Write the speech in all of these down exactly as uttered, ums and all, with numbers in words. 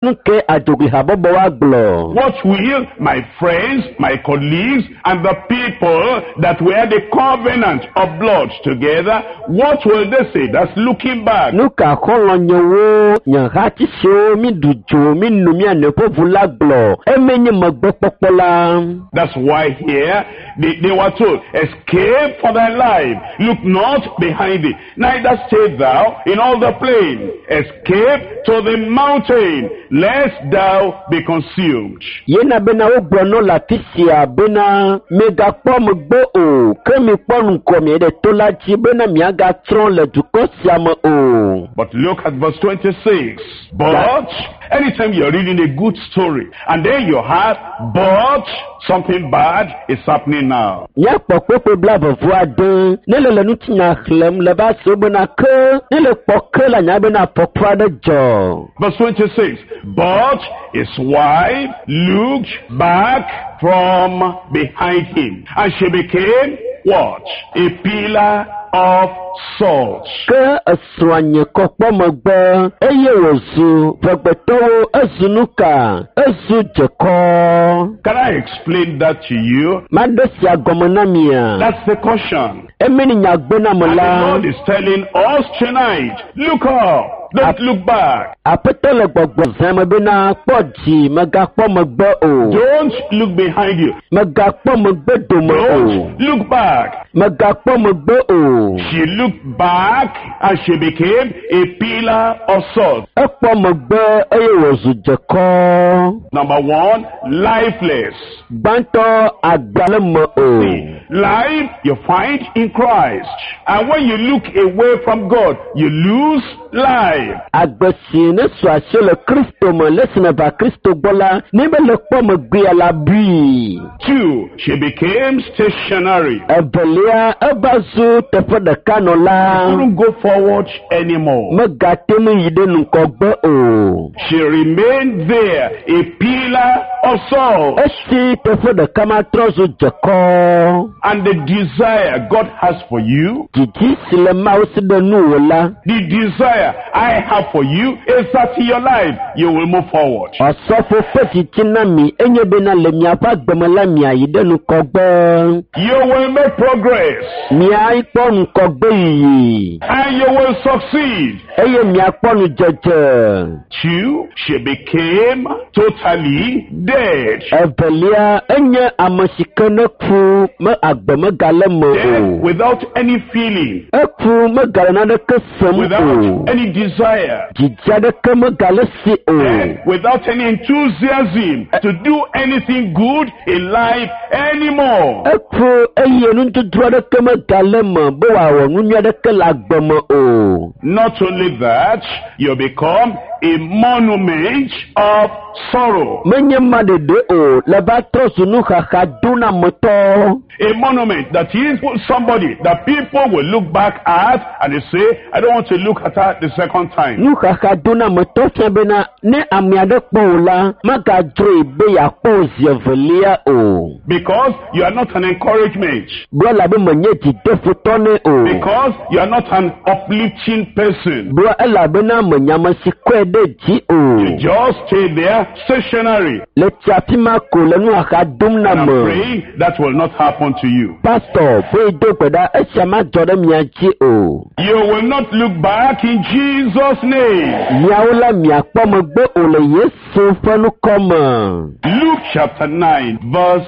Nu ke adzogli habɔbɔ wa gblɔ? What will my friends, my colleagues, and the people that were the covenant of blood together, what will they say? That's looking back. Nu ka xɔlɔ̃nyewo, nye hati siwo mi ɖu dzo, mi nu mia nɔewo ƒe ʋu la gblɔ? Eme nye megbekpɔkpɔ la. That's why here they, they were told, "Escape for thy life. Look not behind thee, neither stay thou in all the plain. Escape to the mountain, lest thou be consumed." Yena bena wogblɔ nɔ le afi sia bena megakpɔ megbe o, ke mikpɔ ŋgɔ mi ɖe to la dzi bena miagatsrɔ̃ le dukɔ sia me o. But look at verse twenty-six. But, anytime you're reading a good story, and then you have, but something bad is happening now. Míakpɔ kpekpe blaeve vɔ ade ne le le ŋutinya xlẽm le va se bena ke ne le kpɔ ke la nya bena afɔku aɖe dzɔ. Verse twenty-six. But his wife looked back from behind him, and she became what? A pillar of salt. Ke esrɔ̃a nye kɔ kpɔ megbe eye wòzu ʋegbetɔwo ezu nu ka? Ezu dzekɔ. Can I explain that to you? Maɖe sia gɔme na mia. That's the caution. Emi ni nyagbe na me And the la. Lord is telling us tonight, look up, don't look back. Aƒetɔ le gbɔgbɔ zã me bena kpɔ dzi megakpɔ megbe o. Don't look behind you. Megakpɔ megbe dome o. Don't look back. Megakpɔ megbe o. She looked back and she became a pillar of salt. Ekpɔ megbe eye wòzu dzekɔ. Number one, lifeless. Gbãtɔ agba le me o. See, life you find in Christ. And when you look away from God, you lose life. Agbe si ne su asi le Kristo me le esi neva Kristo gbɔ la, ne be le kpɔ megbea la bui. Two, she became stationary. Evelia eva zu teƒe ɖeka nɔla. Couldn't go forward anymore. Megate ŋu yi ɖe ŋgɔgbe o. She remained there, a pillar of salt. Esi teƒe ɖeka ma trɔ zu dzekɔ. And the desire God has for you, Didi si le Mawu si ɖe nuwò la, the desire I have for you is that in your life you will move forward. Ɔsɔfo ƒe didi na mi enye bena le miaƒe agbeme la miayi ɖe ŋgɔgbe. You will make progress Miakpɔ ŋgɔgbe yiyi and you will succeed. Eye miakpɔ nudzedze. Two, she became totally dead. Evelia enye ame si ke ne ku me agbe megale me o. Dead without any feeling, Eku megale naneke sem o. without any desire, Dzidzi aɖeke megale si o. dead without any enthusiasm to do anything good in life anymore. Eku eye nudodo aɖeke megale me be wòawɔ nu nyui aɖeke le agbe me o. Not only that, you become a monument of sorrow. Menye ma ɖeɖe o, le va trɔ zu nuxaxa donametɔ. A monument that is somebody that people will look back at and they say, "I don't want to look at her the second time." Nuxaxa donametɔ fia bena ne ame aɖe kpɔ wò la, magadzroe be yeakpɔ wò zi evelia o. Because you are not an encouragement. Gblɔ elabe menye dzideƒotɔ nɛ o. Because you are not an uplifting person. Gblɔ elabena menye ame si kɔe ɖe dzi o. You just stay there stationary. Le tsi afi ma ko le nuxaxa dom na And I'm me. praying that will not happen to you. Pastor, be do gbe ɖa esia madzɔ ɖe mia dzi o. You will not look back in Jesus' name. Miawo la miakpɔ megbe o le Yesu ƒe ŋkɔ me. Luke chapter nine, verse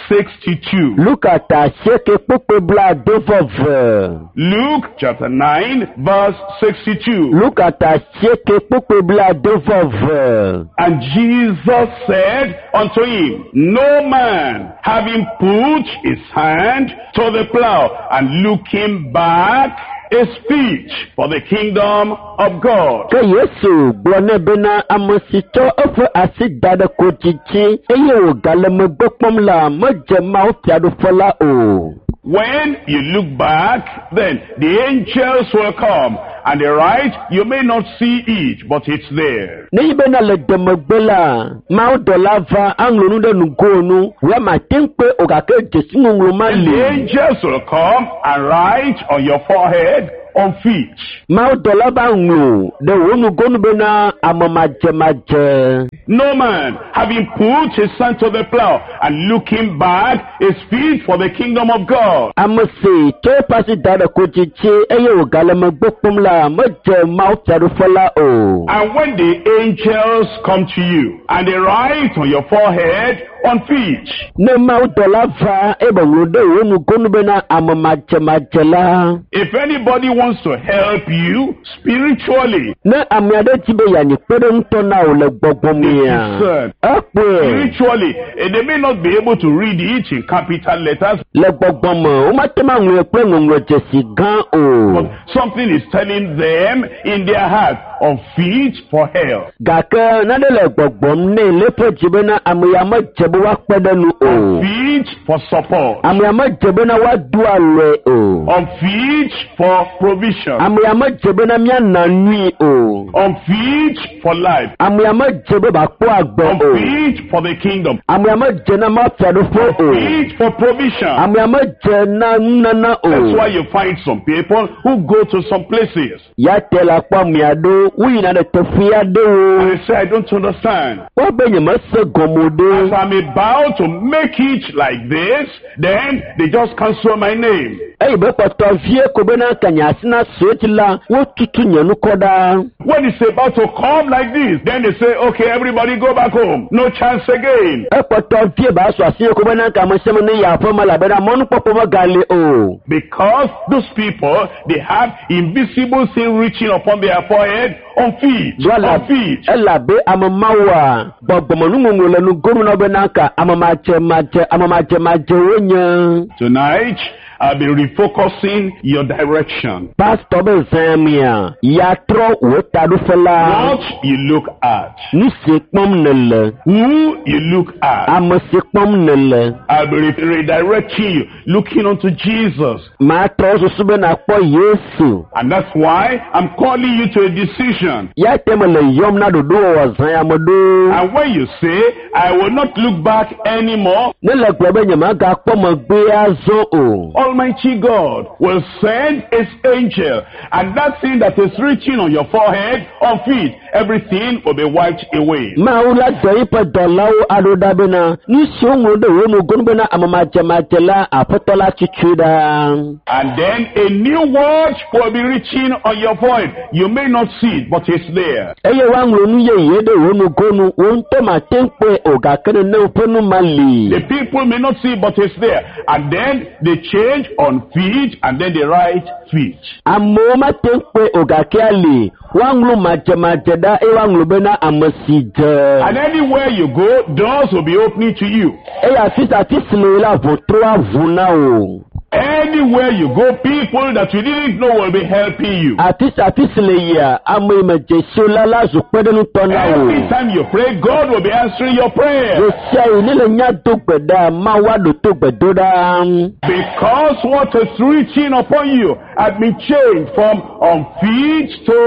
sixty-two. Luka ta asieke kpukpui blaade vɔ eve. Luke chapter nine, verse sixty-two. Luka ta asieke kpukpui blaade vɔ eve. And Jesus said unto him, "No man, having put his hand to the plow and looking back, is fit for the kingdom of God." Ke Yesu gblɔ nɛ bena ame si tsɔ eƒe asi da ɖe kodzi dzi eye wògale megbe kpɔm la medze Mawu fiaɖuƒe la o. When you look back, then the angels will come and the right, you may not see it, but it's there. Ne yi bena le demegbe la, Mawudɔla va aŋlɔ nu ɖe nugo nu, wò mate ŋu kpɔe o gake dzesi ŋɔŋlɔ ma And li. the angels will come and write on your forehead, unfit. Mawudɔla va ŋlɔ ɖe wò nugonu bena ame madzemadze. No man, having put his hand to the plow and looking back, is fit for the kingdom of God. Ame si tsɔ eƒe asi da ɖe kodzitsi eye wògale megbe kpɔm la medze Mawu fiaɖuƒe la o. And when the angels come to you and they write on your forehead, unfit, Ne mawudɔla va eye be ŋlɔ ɖe wò nugonu bena ame madzemadze la. if anybody wants to help you spiritually, Ne ame aɖe di be yeanyi kpeɖeŋutɔ na wò le gbɔgbɔ mea, discern. ekpɔe Spiritually, eh, they may not be able to read it in capital letters, le gbɔgbɔ me womate ŋu aŋlɔe kple ŋɔŋlɔdzesi gã o. but something is telling them in their heart, unfit for hell, Gake nane le gbɔgbɔm nɛ le eƒe dzi bena ame ya medze be woakpe ɖe nu o. unfit for support, Ame ya medze bena woado alɔe o. unfit for provision, Ame ya medze bena míana nui o. unfit for life, Ame ya medze be wòakpɔ agbe o. unfit for the kingdom, Ame ya medze na Mawu fiaɖuƒe o. unfit for provision. Ame ya medze na nunana That's o. why you find some people who go to some places Ya te la kpɔ ame aɖewo woyina ɖe teƒe aɖewo. and they say, I don't understand. Woabe nyemese gɔme o As ɖe. I'm about to make it like this, then they just cancel my name. Eyi be kpɔtɔ vie ko bena ka nye asi na sue dzi la, wotutu nye ŋkɔ ɖa. When it's about to come like this, then they say, okay, everybody go back home. No chance again. Ekpɔtɔ vie ba sɔ asi ko bena ka ame sia ame ne yi aƒeme elabena mɔnukpɔkpɔ megali o. Because those people, they have invisible thing reaching upon their forehead on feet, Do on feet. elabe ame mawoa gbɔgbɔmenuŋɔŋlɔ le nugonu na wo bena ka ame madzemadze ame madzemadze wonye. Tonight, I'll be refocusing your direction. Pastɔ be zã mia yatrɔ wò taɖoƒe la. What you look at, Nu si kpɔm nèle, who you look at. ame si kpɔm nèle. I'll be re- redirecting you, looking unto Jesus. Matrɔ susu be nàkpɔ Yesu. And that's why I'm calling you to a decision. Ya te mele yɔm na ɖoɖowɔwɔ zã ya me ɖo. And when you say, I will not look back anymore, Ne le gblɔ be nyemagakpɔ megbe azɔ o. Almighty God will send His angel, and that thing that is reaching on your forehead or feet, everything will be wiped away. Mawu la dɔ eƒe dɔlawo aɖo ɖa bena nu siwo ŋlɔ ɖe wò nugonu bena ame madzemadze la aƒetɔ la tutu ɖa. And then a new word will be reaching on your forehead. You may not see it, but it's there. Eye woaŋlɔ nu yeye ɖe wò nugonu wò ŋutɔ mate ŋu kpɔe o gake nenem ƒe nu ma li. The people may not see it, but it's there. And then they change on feet, and then they write feet. Amewo mate ŋu kpɔe o gake ali woaŋlɔ madzemadze ɖa eye woaŋlɔ bena ame si dze. And anywhere you go, doors will be opening to you. Eye afi sia afi si le la ʋɔtru aʋu na wò. Anywhere you go, people that you didn't know will be helping you. Afi sia afi si le yia ame yi me dzesiwo la la zu kpeɖeŋutɔ na wò. Every time you pray, God will be answering your prayer. Ɣe sia ɣi ne le nya do gbe ɖa, Mawu aɖo to gbe do ɖa. Because what is reaching upon you has been changed from unfit to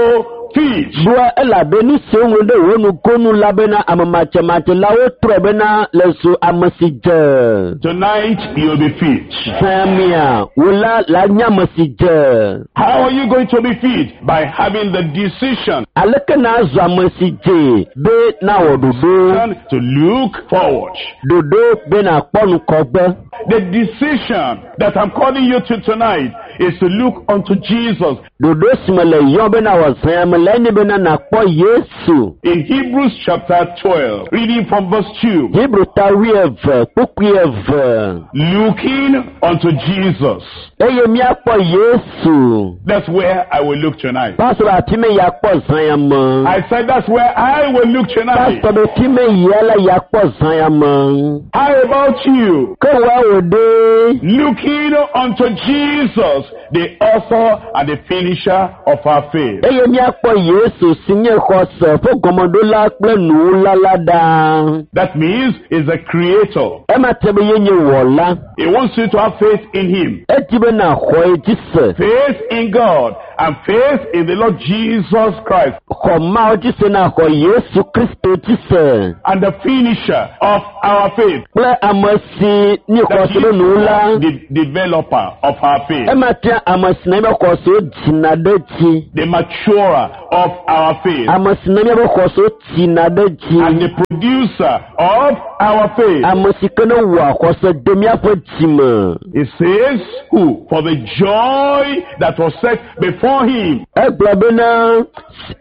fit. Ɖoa elabe nu si woŋlɔ ɖe wò nugonu la bena ame madzemadze la wotrɔe bena le zu ame si dze. Tonight, you'll be fit. Zã mia, wò la la nye ame si dze. How are you going to be fit? By having the decision Aleke na zu ame si dze be na wɔ ɖoɖo? to look forward. Ɖoɖo be nakpɔ ŋgɔgbe. The decision that I'm calling you to tonight is to look unto Jesus. Ɖoɖo si me le yɔm be na wɔ zã ya me la enye bena nakpɔ Yesu. In Hebrews chapter twelve, reading from verse two, Hebrew ta wuieve kpukpui eve. looking unto Jesus. Eye míakpɔ Yesu. That's where I will look tonight. Pastor afi me yakpɔ zã ya me. I said that's where I will look tonight. Pastor be fi me yia la yakpɔ zã ya me. How about you? Ke woawo ɖe. Looking unto Jesus, the author and the finisher of our faith. Eye míakpɔ Yesu si nye xɔse ƒe gɔmeɖola kple nuwula la ɖa. That means he's a creator. Ema te be yenye wɔla. He wants you to have faith in him. Edi be naxɔ ye dzi se. Faith in God and faith in the Lord Jesus Christ Xɔ Mawu dzi se na xɔ Yesu Kristo dzi se. and the finisher of our faith. Kple ame si ni That xɔse ɖe is nuwula. the developer of our faith, Ema tia ame si na míaƒe xɔsewo dzina ɖe dzi. the maturer of our faith, Ame si na míaƒe xɔsewo tsina ɖe dzi. and the producer of our faith. Ame si ke ne wɔa xɔse de míaƒe dzime. It says, who? For the joy that was set before him. Egblɔ bena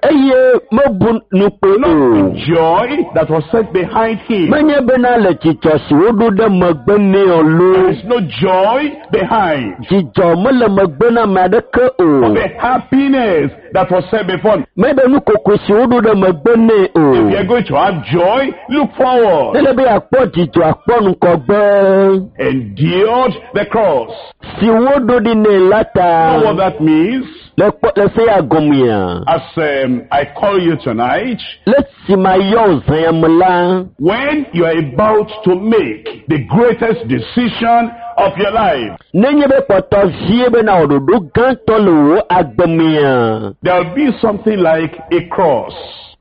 eye mebu nukpe Not o. the joy that was set behind him. Menye bena le dzidzɔ si woɖo ɖe megbe nɛ o There loo. is no joy behind. Dzidzɔ mele megbe na ame aɖeke o. The happiness that was set before him. Menye be nukoko si woɖo ɖe megbe nɛ o. If you are going to have joy, look forward. Ele be yeakpɔ dzidzɔ akpɔ ŋgɔgbe Endured the cross. si woɖo ɖi nɛ la ta. You know what that means? Le kpɔ le se ya gɔmea. As um, I call you tonight, Le si ma yɔ wò zã ya me la, when you are about to make the greatest decision of your life, nenye be kpɔtɔ vie bena wò ɖoɖo gãtɔ le wò agbemea, there will be something like a cross.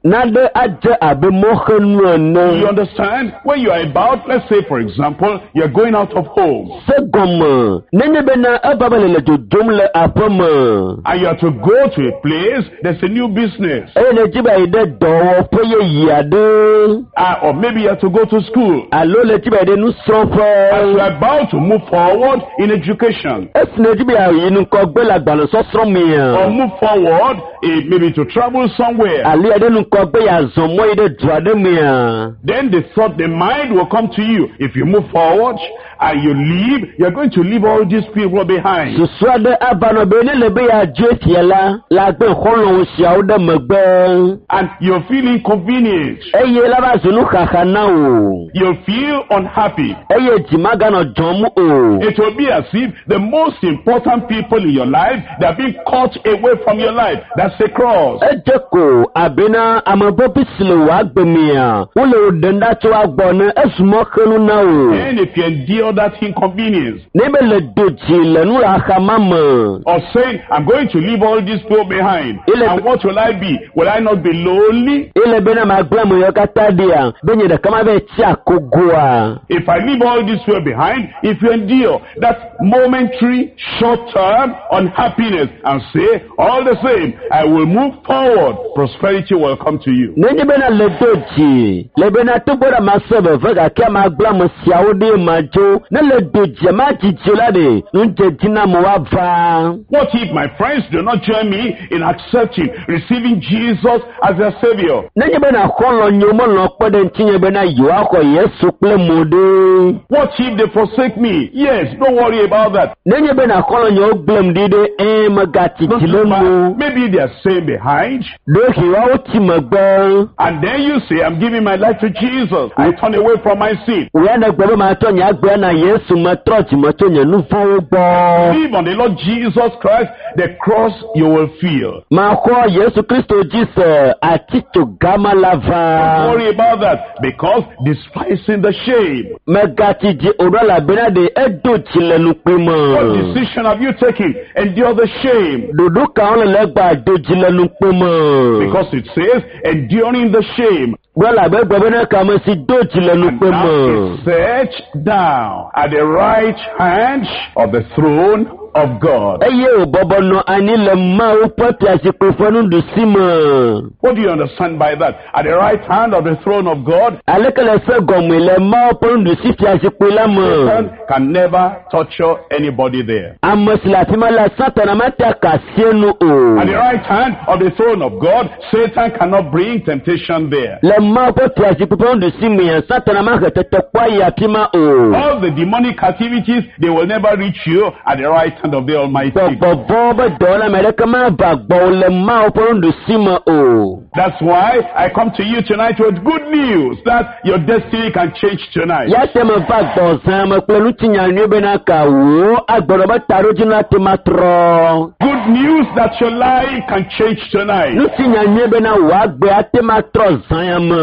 naɖe adze abe mɔxenu ene. You understand? When you are about, let's say for example, you're going out of home Se gɔme, nenye bena eva be le le dodom le aƒe me and you are to go to a place, there's a new business. eye nèdi be yeayi ɖe dɔwɔƒe yeye aɖe Uh, or maybe you have to go to school. alo le di be yeayi ɖe As nusrɔ̃ƒe. you are about to move forward in education Esi nèdi be yeayi ŋgɔgbe le agbalẽsɔsrɔ̃ or mea, move forward, eh, maybe to travel somewhere, alo yeaɖe ŋgɔgbe yeazɔ mɔ yi ɖe du aɖe mea, then the thought, the mind will come to you. If you move forward and you leave, you're going to leave all these people behind. susu aɖe ava nɔ be ne le be yeadzo fia la, le agbe xɔlɔ̃wo siawo ɖe megbe And you'll feel inconvenient. eye la va zu nuxaxa na wò You'll feel unhappy. eye dzi maganɔ dzɔm o. It will be as if the most important people in your life, they are being cut away from your life. That's the cross. Edze ko abena ame vevi si le wò agbe mea, wole wò ɖem ɖa tso agbɔ ne ezu mɔxenu na wò. And if you endure that inconvenience, Ne be le do dzi le nuxaxa ma me, or saying, I'm going to leave all these people behind. Ele- And what will I be? Will I not be lonely? ele bena magblẽ ame yawo katã ɖia, be nye ɖeka ma va tsi akogoa. If I leave all these people behind, if you endure that momentary, short-term unhappiness and say, all the same, I will move forward, prosperity will come to you. Nenye bena le do dzi, le bena togbɔ ɖe mase veve gake magblẽ ame siawo ɖi madzo. Ne le do dzia madzidzi la ɖe, nudzedziname woava. What if my friends do not join me in accepting, receiving Jesus as their savior? Nenye bena xɔlɔ̃ nyewo melɔ̃ kpe ɖe ŋutinye bena yewoaxɔ Yesu kple mo ɖe. What if they forsake me? Yes, don't worry about that. Nenye bena xɔlɔ̃ nyewo gblẽm ɖi ɖe, ɛ̃ megatsi Don't dzi le you nu. mind. Maybe they are staying behind. Ɖewohĩ woawo tsi megbe. And then you say, I'm giving my life to Jesus. I turn away from my sin. Wò ya negblɔ be matsɔ nye agbe na Yesu metrɔ dzime tso nye nu vɔ̃wo gbɔ. Believe on the Lord Jesus Christ, the cross you will feel. Maxɔ Yesu Kristo dzi se atitso gama la Don't va. worry about that because despising the shame. Megatsi dzi o ɖo elabena ɖe edo dzi le nukpui What me. decision have you taken? Endure the shame. Ɖoɖo kawo le le egba do dzi le nukpui me? Because it says, enduring the shame. Gblɔ elabe egblɔ bena kame si do dzi le And nukpui now me. is set down at the right hand of the throne of God. Eye wòbɔbɔ nɔ anyi le Mawu ƒe fiazikpui ƒe nuɖusi me. What do you understand by that? At the right hand of the throne of God, Aleke le se gɔmee le Mawu ƒe nuɖusi fiazikpui la me? Satan can never torture anybody there. Ame si le afi ma la, Satana mate aka asi enu o. At the right hand of the throne of God, Satan cannot bring temptation there. Le Mawu ƒe fiazikpui ƒe nuɖusi mea, Satana mahe tetekpɔ ayi afi ma o. All the demonic activities, they will never reach you at the right hand of the Almighty. God. Gbɔgbɔvɔ̃wo be dɔwɔla ame aɖeke mava gbɔwò le Mawu ƒe nuɖusi me o. That's why I come to you tonight with good news that your destiny can change tonight. Ya te meva gbɔ zã me kple ŋutinya nyui bena ka wò agbenɔ be taɖodzinu ate ma trɔ. Good news that your life can change tonight. Ŋutinya nyui bena wò agbe ate ma trɔ zã ya me.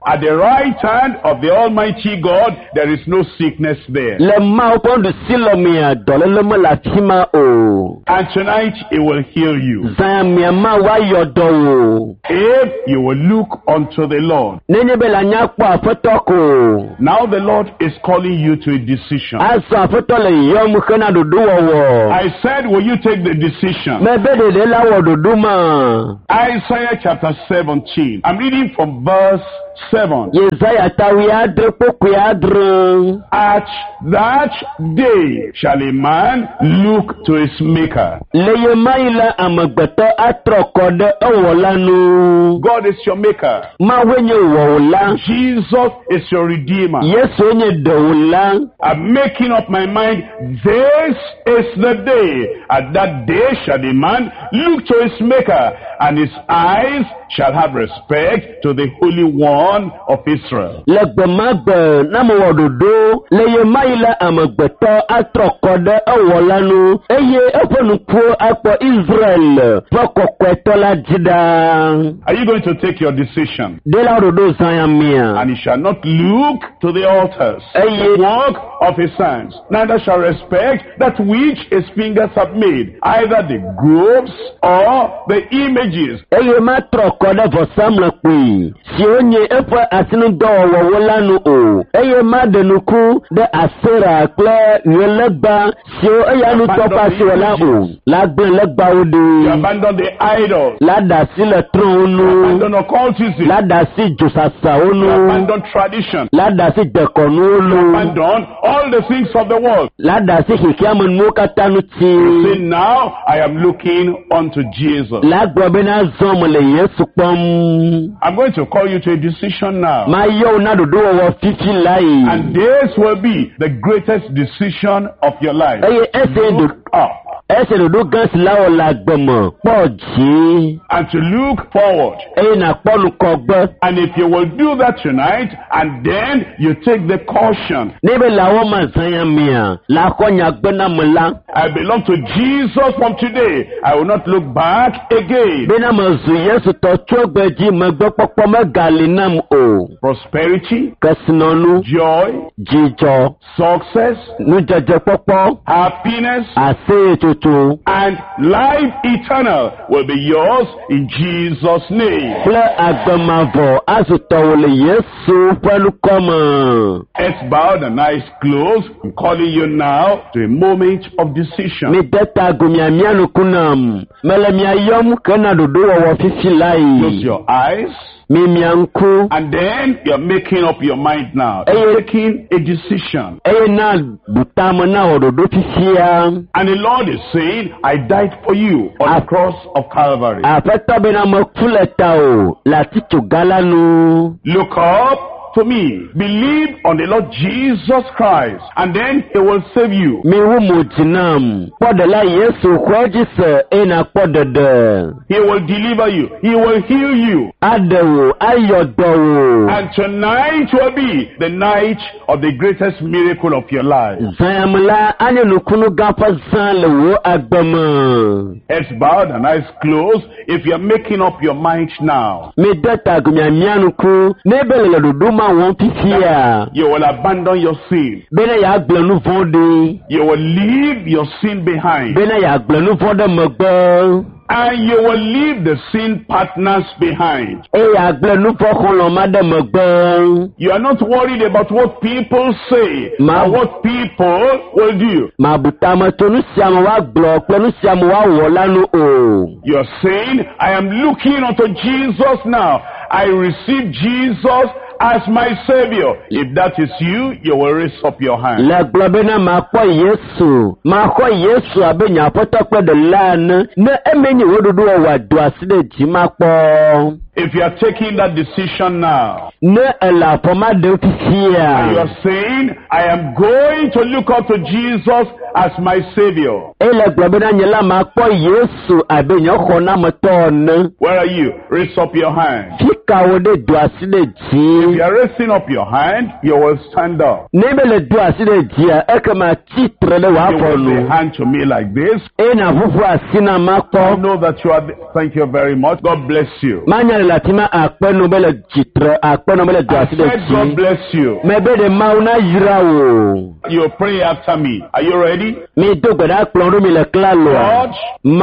At the right hand of the Almighty God, there is no sickness there. Le Mawu ƒe nuɖusi le mea, dɔléle mele afi ma o. And tonight he will heal you. Zã mia ma woayɔ dɔ wò. If you will look unto the Lord. Nenye be le anya kpɔ aƒetɔ ko. Now the Lord is calling you to a decision. Azɔ aƒetɔ le yɔm hena ɖoɖowɔwɔ. I said, will you take the decision? Mebe ɖeɖe la wɔ ɖoɖo ma. Isaiah chapter seventeen. I'm reading from verse seven. Yesaya ta wuiadre kpokpui adre. At that day shall a man look to his maker. Le ye ma yi la amegbetɔ atrɔ kɔ ɖe ewɔla nu. God is your maker. Mawue nye wɔwòla. Jesus is your redeemer. Yesue nye ɖewòla. I'm making up my mind. This is the day. At that day shall the man look to his maker, and his eyes shall have respect to the Holy One of Israel. Le gbe ma gbe na mewɔ ɖoɖo le ye ma yi la amegbetɔ atrɔ kɔ ɖe ewɔla nu eye eƒe ŋkuwo akpɔ Israel ƒe kɔkɔetɔ la dzi ɖaa. Are you going to take your decision? Ɖe la ɖoɖo zã ya mia. And he shall not look to the altars, Eye the work of his hands, neither shall respect that which his fingers have made, either the groves or the images. Eye matrɔ kɔ ɖe vɔsamlekpui siwo nye eƒe asinudɔwɔwɔwo la nu o. Eye maɖe nuku ɖe Asera kple ɣelegba siwo eya ŋutɔ ƒe asi wɔ la o. La gblẽ legbawo You ɖi. abandon the idols, La ɖe asi le trɔ̃wo nu. abandon occultism, La ɖe asi dzosasawo you nu. abandon tradition, La ɖe asi dekɔnuwo nu. abandon all the things of the world. La ɖe asi xexeamenuwo katã ŋuti. Say now I am looking unto Jesus. La gblɔ bena zɔ mele Yesu kpɔm. I'm going to call you to a decision now. Mayɔ wò na ɖoɖowɔwɔ fifi lae. And this will be the greatest decision of your life. Eye esi ɖo Look up esi ɖoɖo gã si la wɔ le agbe me kpɔ dzi and to look forward. eye nàkpɔ nukɔgbe. And if you will do that tonight, and then you take the caution, Ne be le awɔ ma zã ya mea, la xɔ nyagbe na me la I belong to Jesus from today. I will not look back again. bena mezu Yesu tɔ tso egbe dzi megbekpɔkpɔ megali nam o. Prosperity, Kesinɔnu, joy, dzidzɔ, success, nudzedzekpɔkpɔ, happiness, aseyetsotso and life eternal will be yours in Jesus' name. kple agbe mavɔ azu tɔwò le Yesu ƒe ŋkɔ me. Heads bowed and eyes closed. I'm calling you now to a moment of decision. Mide ta agu miamia ŋku nam. Mele mia yɔm hena ɖoɖowɔwɔ fifi Close lae. your eyes. Mimia ŋku And then you're making up your mind now. You're taking a decision. eye na bu tame na wɔ ɖoɖo fifia. And the Lord is saying, I died for you on the cross of Calvary. Aƒetɔ bena meku le ta o le atitsoga la nu. Look up to me. Believe on the Lord Jesus Christ, and then he will save you. Miwu mo dzi nam. Kpɔ ɖela Yesu xɔe dzi se eye nakpɔ ɖeɖe. He will deliver you. He will heal you. Aɖe wò, ayɔ dɔ wò. And tonight will be the night of the greatest miracle of your life. Zã ya me la anye nukunu gã ƒe zã le wò agbe me. Heads bowed and eyes closed. If you're making up your mind now, Mide ta agu miamia ŋku ne be le le ɖoɖo ma wɔm fifia. you will abandon your sin. Bena yeagblẽ nu vɔ̃ ɖi. You will leave your sin behind. Bena yeagblẽ nu vɔ̃ ɖe megbe. And you will leave the sin partners behind. Eye yeagblẽ nu vɔ̃ xɔlɔ̃ ma ɖe megbe. You are not worried about what people say Ma- or what people will do. Mabu tame tso nu sia me woagblɔ kple nu sia me woawɔ la nu o. You are saying, I am looking unto Jesus now. I receive Jesus as my Savior. If that is you, you will raise up your hand. Le gblɔ bena makpɔ Yesu, maxɔ Yesu abe nye aƒetɔ kple ɖela ene. Ne eme nye wò ɖoɖo wɔwɔ do asi ɖe dzi makpɔ. If you are taking that decision now, Ne ele afɔ ma ɖem and you fifia, are saying, I am going to look up to Jesus as my Savior. ele gblɔ bena nye la makpɔ Yesu abe nye xɔnametɔ ene. Where are you? Raise up your hand. Fi ka wo ɖe do asi ɖe If dzi. you are raising up your hand, you will stand up. Ne be le do asi ɖe dzia, ekema tsitre ɖe wò You afɔ will nu. say hand to me like this. Eye nàʋuʋu asi na I makpɔ. know that you are. Thank you very much. God bless you. Manya le afi ma akpe nu be le tsitre, akpe nu be le do I asi ɖe said God dzi. bless you. Mebe ɖe Mawu na yra wò. You pray after me. Are you ready? Mi do gbe ɖa kplɔ ɖo mi le klaloa. God,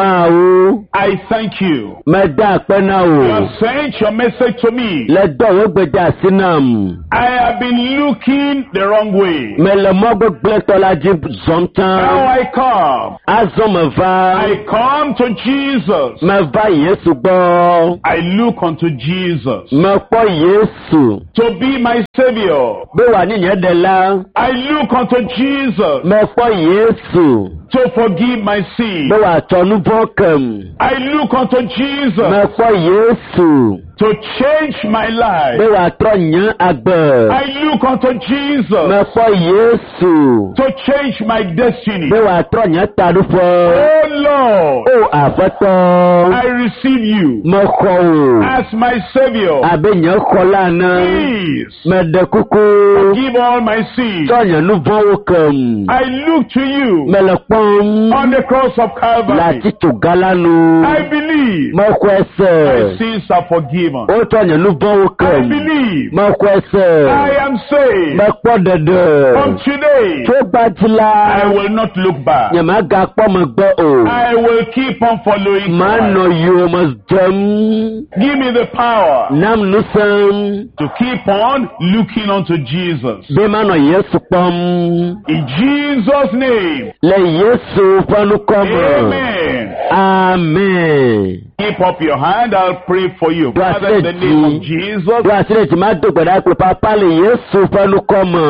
Mawu, I thank you. meda akpe na You wò. have sent your message to me. Le dɔ wò gbe de asi nam. I have been looking the wrong way. Mele mɔ gbegblẽtɔ la dzi zɔm Now tsã. I come. Azɔ meva. I come to Jesus. Meva Yesu gbɔ. I look unto Jesus Mekpɔ Yesu to be my Savior. be wòanye nye ɖela. I look unto Jesus Mekpɔ Yesu to forgive my sin. be wòatsɔ nu vɔ̃ kem. I look unto Jesus Mekpɔ Yesu to change my be life. wòatrɔ nye agbe. I look unto Jesus Mekpɔ Yesu to change my destiny. be wòatrɔ nye taɖoƒe. Oh Lord, O Aƒetɔ, I receive you mexɔ wò as my Savior. abe nye xɔla ene. Please Meɖe kuku forgive all my sins. tsɔ nye nu vɔ̃wo kem. I look to you Mele kpɔm on the cross of le Calvary. atitsoga la nu. I believe Mexɔe my se. sins are forgiven. Wotsɔ nye nu vɔ̃wo I kem. believe Mexɔe se. I am saved. Mekpɔ ɖeɖe. From today, Tso gbadzi la, I will not look back. nyemagakpɔ megbe o. I will keep on following Manɔ Christ. yowòme dzem. Give me the power Nam ŋusẽm to keep on looking unto Jesus. be manɔ Yesu kpɔm. In Jesus' name, Le Yesu ƒe ŋkɔ me. amen. Amen. Keep up your hand, I'll pray for you. Do I Father, in the say name of G? Jesus, Do asi ɖe dzi mado gbe ɖa kple papa le Yesu ƒe ŋkɔ me.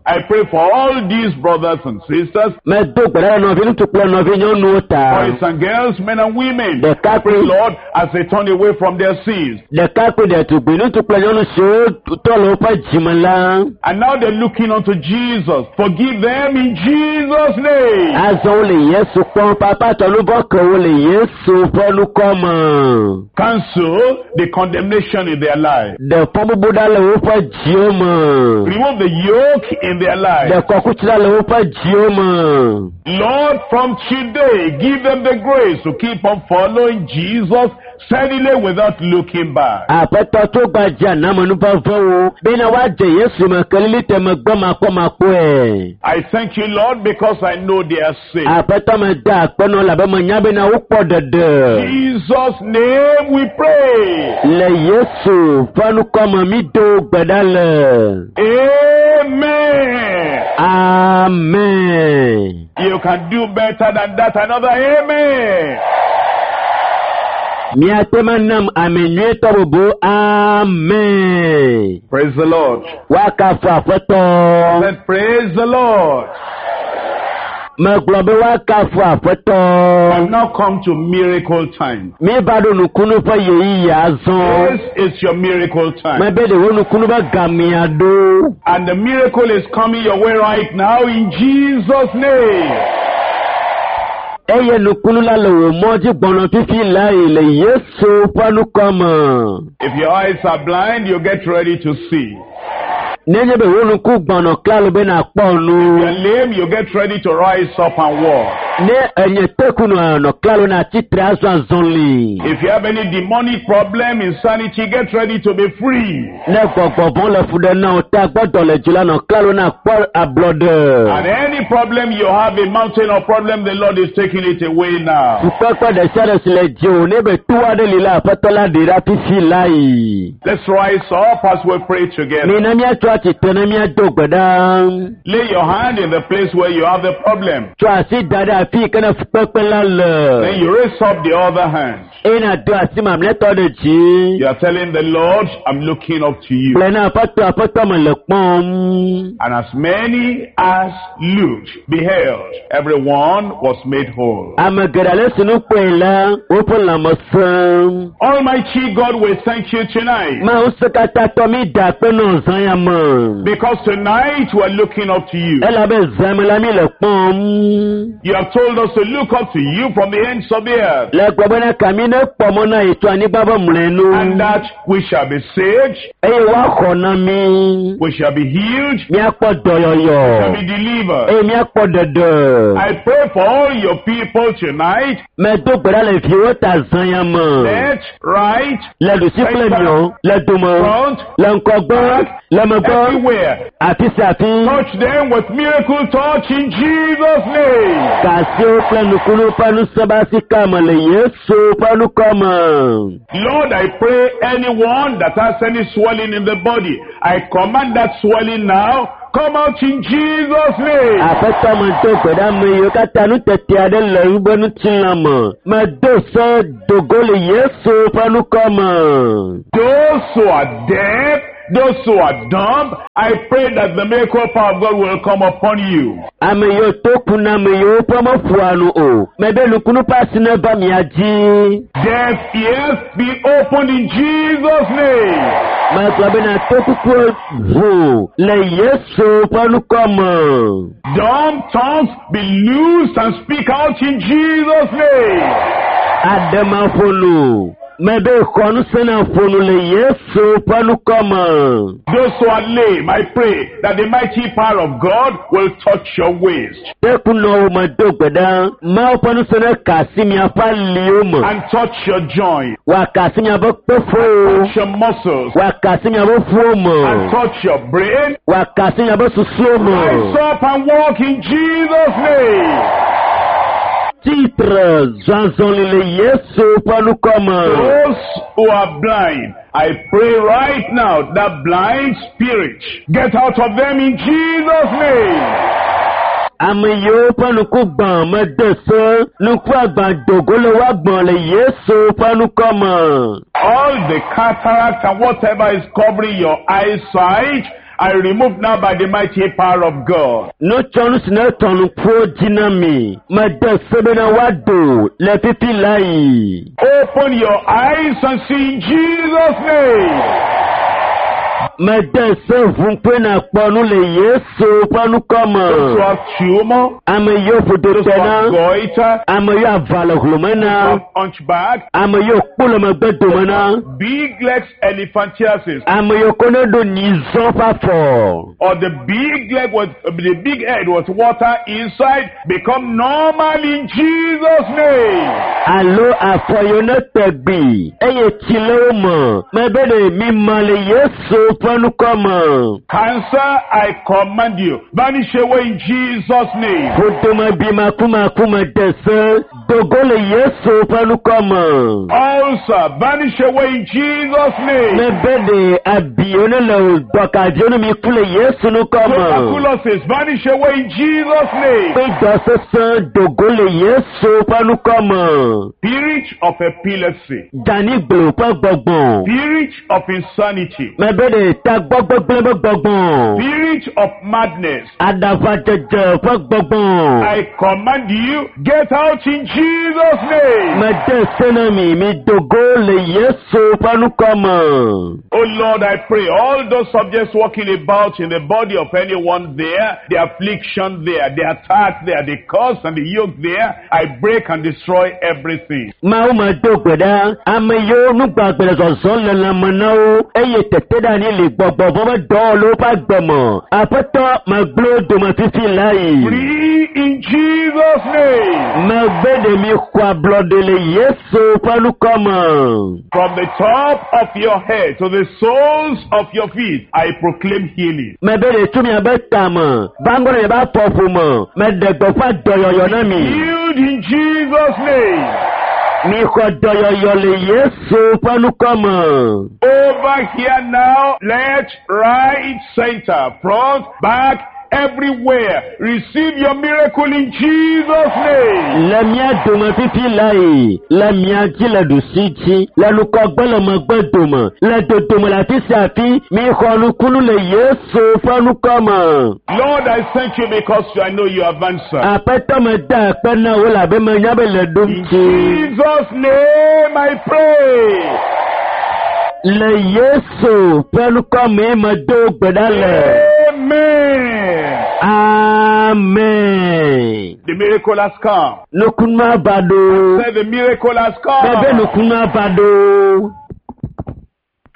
I pray for all these brothers and sisters, Medo gbe ɖa ɖe nɔvi ŋutsu kple nɔvi nyɔnuwo ta. boys and girls, men and women. Ɖekakpui Pray, Lord, as they turn away from their sins. ɖekakpui ɖetugbui ŋutsu kple nyɔnu siwo trɔ le woƒe dzime la. And now they're looking unto Jesus. Forgive them in Jesus' name. Azɔ wole Yesu kpɔm papa tɔ nu vɔ̃ ke wo le Yesu ƒe ŋkɔ me. Cancel the condemnation in their life. Ɖe fɔbubu ɖa le woƒe dziwo me. Remove the yoke in their life. Ɖe kɔkuti ɖa le woƒe dziwo me. Lord, from today, give them the grace to keep on following Jesus steadily without looking back. Aƒetɔ tso gbadza namenuvevẽwo bena woadze Yesu me kelili te megbe makpɔmakpɔe. I thank you, Lord, because I know they are saved. Aƒetɔ meda akpe nɔ labe menya bena wokpɔ ɖeɖe. Jesus' name we pray. Le Yesu ƒe ŋkɔ me mi do gbe ɖa le. Amen. Amen. You can do better than that. Another amen. Miate ma nam ame nyuietɔ bubu. Amen. Praise the Lord. Woakafu Aƒetɔ. Said, praise the Lord. Megblɔ be woakafu Aƒetɔ. I've now come to miracle time. Míeva ɖo nukunu ƒe ɣeyiɣi azɔ. This is your miracle time. Mebe ɖe wo nukunu be gamea ɖo. And the miracle is coming your way right now in Jesus' name. Eye nukunu la le wò mɔ dzi gbɔnɔ fifi lae le Yesu ƒe ŋkɔ me. If your eyes are blind, you get ready to see. Nenye be wò ŋku gbɔnɔ klalo be nàkpɔ nu. If you're lame, you get ready to rise up and walk. Ne enye teku nɔ nɔ klalo na tsitre azɔ azɔli. If you have any demonic problem, insanity, get ready to be free. Ne gbɔgbɔ vɔ̃ le fu ɖe na wò ta gbɔdɔ le dzi la nɔ klalo na kpɔ ablɔɖe. And any problem you have, a mountain of problem, the Lord is taking it away now. Fukpekpe ɖe sia ɖe si le dziwò ne be to aɖe li la aƒetɔ la ɖe ɖa fifi lae. Let's rise up as we pray together. Mina míatso atsitre ne míado gbe ɖa. Lay your hand in the place where you have the problem. Tsɔ asi da ɖe afi yi ke ne fukpekpe la le. Then you raise up the other hand. Eye nàdo asi mamlɛtɔ ɖe dzi. You are telling the Lord, I'm looking up to you. Gblɔ na aƒetɔ aƒetɔ me le kpɔm. And as many as looked, beheld, everyone was made whole. Ame geɖe ale si nu kpɔe la, woƒe lãme sẽ. Almighty God, we thank you tonight Mawu se katã tɔ mi da akpe nɔ zã ya me. me. Because tonight we're looking up to you. Elabe zãme la mi le kpɔm. You have told us to look up to you from the ends of the earth. Le gblɔ bena kami ne kpɔ mɔ na yi tso anyigba ƒe mlɔenu. And that we shall be saved, Eye woaxɔ na mi. we shall be healed, Míakpɔ shall dɔyɔyɔ. be delivered. Eye míakpɔ ɖeɖe. I pray for all your people tonight, Medo gbe ɖa le viwo ta zã ya me. left, right, Le ɖusi kple miɔ, le dome, front, le ŋgɔgbe, le megbe, everywhere. afi sia afi. Touch them with miracle touch in Jesus' name. Kasiwo kple nukunu ƒe nusẽbasika me le Yesu ƒe ŋkɔ me. Lord, I pray anyone that has any swelling in the body, I command that swelling now, come out in Jesus' name. Aƒetɔ medo gbe ɖe ame yiwo katã nutete aɖe le woƒe ŋutilã me. Medo se dogo le Yesu ƒe ŋkɔ me. Those who are deaf, those who are dumb, I pray that the miracle power of God will come upon you. Ame yiwo to ku na ame yiwo ƒe meƒoa nu o. Mebe nukunu ƒe asi neva mia dzi. Deaf ears be opened in Jesus' name. Megblɔ bena tokukuwo ʋu le Yesu ƒe ŋkɔ me. Dumb tongues be loosed and speak out in Jesus' name. Aɖemaƒonu. Mebe xɔ ŋusẽ na ƒonu le Yesu ƒe ŋkɔ me. Those who are lame, I pray that the mighty power of God will touch your waist Tekunɔwo medo gbe ɖa. Mawu ƒe ŋusẽ ne ka asi miaƒe aliwo me. and touch your joint, Wòaka asi miaƒe kpeƒowo. touch your muscles, Wòaka asi miaƒe ƒuwo me. and touch your brain. Wòaka asi miaƒe susuwo me. Rise up and walk in Jesus' name. Titre zɔzɔli le Yesu ƒe ŋkɔ me. Those who are blind, I pray right now that blind spirit get out of them in Jesus' name. Ame yiwo ƒe ŋku gbã mede se, ŋku agbã dogo le woagbã le Yesu ƒe ŋkɔ me. All the cataract and whatever is covering your eyesight, I remove now by the mighty power of God. Nutsɔnu si ne tɔ ŋkuwo dzi na mi, mede se bena woado le fifi la yi. Open your eyes and see in Jesus' name. Mede se ʋu ŋkue nakpɔ nu le Yesu ƒe ŋkɔ me. Those who have tumor, Ame yiwo ƒodo those te who na, have goiter, ame yiwo ava le hlome who na, have hunchback, ame yiwo kpo le megbe dome na, big legs elephantiasis, ame yiwo ko ne ɖo nyizɔ ƒe afɔ. or the big leg with the big head with water inside, become normal in Jesus' name. Alo afɔ yiwo ne te gbi eye tsi le wo me mebe ɖe mi ma le Yesu ƒe ŋkɔ me. Cancer, I command you, vanish away in Jesus' name. Ƒodome bi makumaku me de se dogo le Yesu ƒe ŋkɔ me. Ulcer, vanish away in Jesus' name. Mebe ɖe abi yiwo ne le dɔkadziwo ne mi ku le Yesu ŋkɔ me. Tuberculosis, vanish away in Jesus' name. Kpe dɔ sesẽ dogo le Yesu ƒe ŋkɔ me. Spirit of epilepsy, Daniglo ƒe gbɔgbɔ. spirit of insanity, Mebe ɖe tagbɔgbegblẽ ƒe gbɔgbɔ. spirit of madness. Aɖaʋadzedze ƒe gbɔgbɔ. I command you, get out in Jesus' name. Mede se na mi, mi dogo le Yesu ƒe ŋkɔ me. Oh Lord, I pray all those subjects walking about in the body of anyone there, the affliction there, the attack there, the curse and the yoke there, I break and destroy everything. Mawu me do gbe ɖa, ame yiwo nugbagbe le zɔzɔm le lãme na wo eye teteɖeanyi li gbɔgbɔ vɔ be dɔwɔ le woƒe agbe me. Aƒetɔ megblẽ wo dome fifi la yi. Free in Jesus' name. Megbe ɖe mi xɔ ablɔɖe le Yesu ƒe ŋkɔ me. From the top of your head to the soles of your feet, I proclaim healing. Mebe ɖe tso miabe tame, va ŋgɔ ɖe miabe afɔƒome, meɖe gbeƒã dɔyɔyɔ na mi. Healed in Jesus' name. Mi xɔ dɔyɔyɔ le Yesu ƒe ŋkɔ me. Over here now, left, right, center, front, back, everywhere. Receive your miracle in Jesus' name. Le mía dome fifi la yi, le mía dzi le ɖusi dzi, le ŋgɔgbe le megbe dome, le dodome le afi sia afi, mi xɔ nukunu le Yesu ƒe ŋkɔ me. Lord, I thank you because I know you have answered. Aƒetɔ me da akpe na wo labe menya be le ɖom In dzi. Jesus' name I pray. Le Yesu ƒe ŋkɔ mee medo gbe ɖa le. Amen. Amen. The miracle has come. Nukunua va ɖo. Say the miracle has Bebe come. nukunua va ɖo.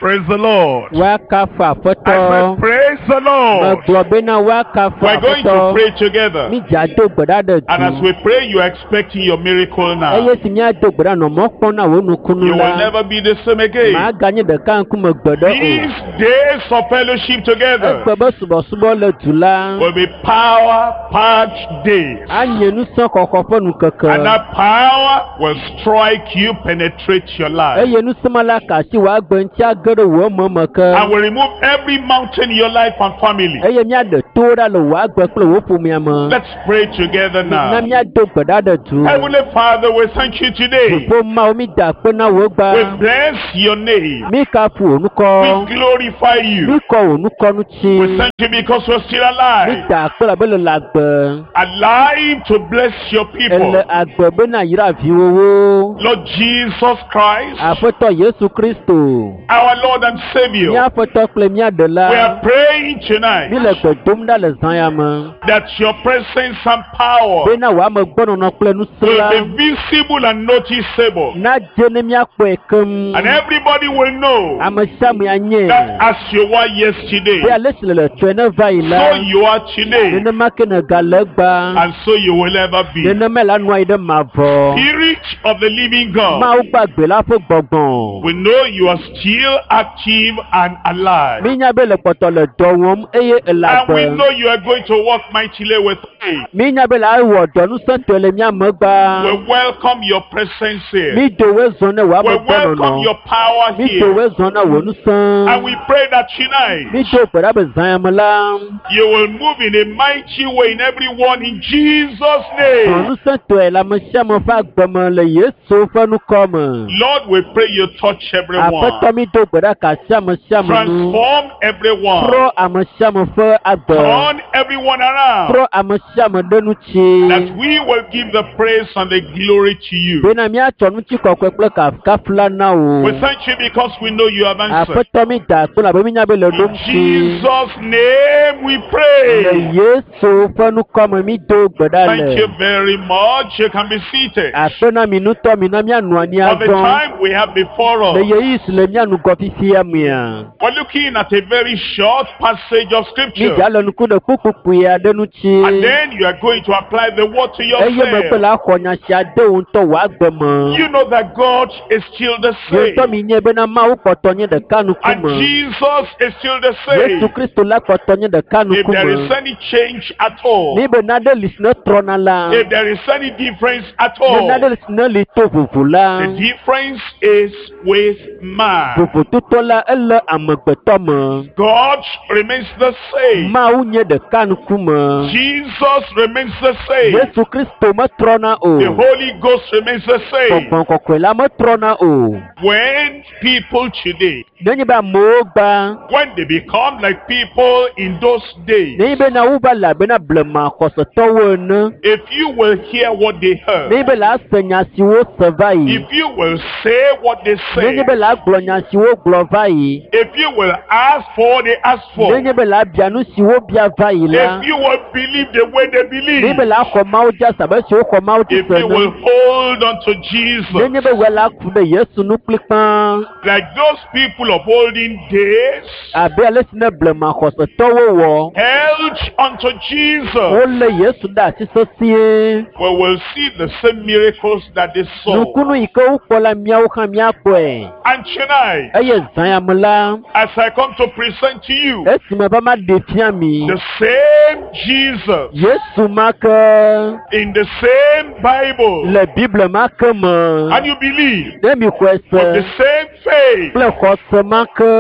Praise the Lord. Woakafu I Aƒetɔ. said, praise the Lord. Megblɔ bena woakafu We're going to Aƒetɔ. pray together. Mídza do gbe ɖa ɖe And as du. we pray, you are expecting your miracle now. Eye si míado gbe ɖa nɔ mɔ kpɔm na wò nukunu You will la, never be the same again. màganye ɖeka ŋkume gbe ɖe o. These days of fellowship together Egbe be subɔsubɔ le du la, will be power-packed days. anye nusẽ xɔxɔ ƒe nukeke. And that power will strike you, penetrate your life. Eye nusẽ ma la ka asi wò agbe ŋuti age ɖe wò ememe ke. And will remove every mountain in your life and family. Eye míaɖe towo ɖa le wò agbe kple wò ƒomea me. Let's pray together Na now. míado gbe ɖa ɖe du. Heavenly Father, we thank you today. Dziƒo Mawu mi da akpe na wò gba. We bless your name. Mi kafu wò ŋkɔ. We glorify you. Mi kɔ wò ŋkɔ ŋuti. We thank you because we're still Mi alive. da akpe labe le le agbe. Alive to bless your people. Ele agbe bena yra viwòwo. Lord Jesus Christ, Aƒetɔ Yesu Kristo. our Lord and Savior, Mía Aƒetɔ kple mía Ɖela. we are praying tonight Mi le gbe dom ɖa le zã ya me. that your presence and power Bena wò amegbɔnɔnɔ kple nusẽ will la be visible and noticeable. nadze ne míakpɔe keŋ. And everybody will know Ame sia ame anye. that as you were yesterday, Be ale si le le tsɔe ne va yi la, so you are today, nenema ke nègale egbea. and so you will ever be. Nenema la nɔ anyi ɖe mavɔ. Spirit of the living God, Mawu gbagbe la ƒe gbɔgbɔ. we know you are still active and alive. Mínya be le kpɔtɔ le dɔ wɔm eye ele And we agbe. know you are going to work mightily with me. Mínya be le awɔ dɔ nusẽtɔe le mía megbea. We welcome your presence here. Mído woe zɔ ne wò We welcome amegbɔnɔnɔ. your power Mído here. woe zɔ ne wò nusẽ. And we pray that tonight Mído gbe ɖa be zã ya me la, you will move in a mighty way in everyone in Jesus' zɔ name. nusẽtɔe le ame sia ame ƒe agbe me le Yesu ƒe ŋkɔ me. Lord, we pray you touch everyone, Aƒetɔ mído gbe ɖa ka asi ame sia ame nu. transform everyone, Trɔ ame sia ame ƒe agbe. turn everyone around, Trɔ ame sia ame ɖe ŋuti. that we will give the praise and the glory to you. Bena míatsɔ ŋutikɔkɔe kple kafukafu la na wò. We thank you because we know you have answered. Aƒetɔ mi da akpe labe mínya be le In ɖo ŋuti. Jesus' name we Le pray. Yesu ƒe ŋkɔ me mído gbe ɖa Thank le. you very much. You can be seated. Akpe na mi ŋutɔ mi na míanɔ anyi For the azɔ. time we have before Le us, ɣeyiɣi si le mía ŋgɔ fifia mea, we're looking at a very short passage of scripture. mídza le ŋku ɖe kpukpukpui aɖe ŋuti. And then you are going to apply the word to Eye megbe yourself. la xɔ nya sia de wò ŋutɔ wò agbe me. You know that God is still the Ye same. ŋutɔ mi nye bena Mawu kpɔtɔ nye ɖeka And ŋkume. Jesus is still the Yesu same. Kristo la kpɔtɔ nye ɖeka If there is ŋkume. any change at all, Ni be nane li si ne trɔna la, if there is any difference at ne all, nane li si ne li to vovo la, the difference is with man. vovototɔ la ele amegbetɔ me. God remains the same. Mawu nye ɖeka ŋkume. Jesus remains the same. Yesu Kristo metrɔna o. The Holy Ghost remains the same. Gbɔgbɔ kɔkɔe la metrɔna o. When people today, Nenye be amewo gba, when they become like people in those days, nenye be na wova le abe na blema xɔsetɔwo ene, if you will hear what they heard, nenye be la se nya siwo se va yi, if you will say what they say, nenye be la gblɔ nya siwo gblɔ va yi, if you will ask for what they ask for, nenye be la bia nu siwo bia va yi la, if you will believe the way they nenye be believe, la xɔ Mawu dzi ase abe siwo xɔ Mawu dzi if se you will ene, hold on to Jesus, nenye be wòe la ku ɖe Yesu nu kplikpaa, like those people of olden days abe ale si ne blema xɔsetɔwo wɔ, held unto Jesus, wolé Yesu ɖe asi sesĩe. we will see the same miracles that they saw. Nukunu yi ke wokpɔ la míawo hã míakpɔe. And tonight, Eye zã ya me la, as I come to present to you esime va ma ɖe fia mi, the same Jesus Yesu ma ke in the same Bible, le Biblia ma ke me, and you believe ne mi xɔe with the se same faith kple xɔse ma ke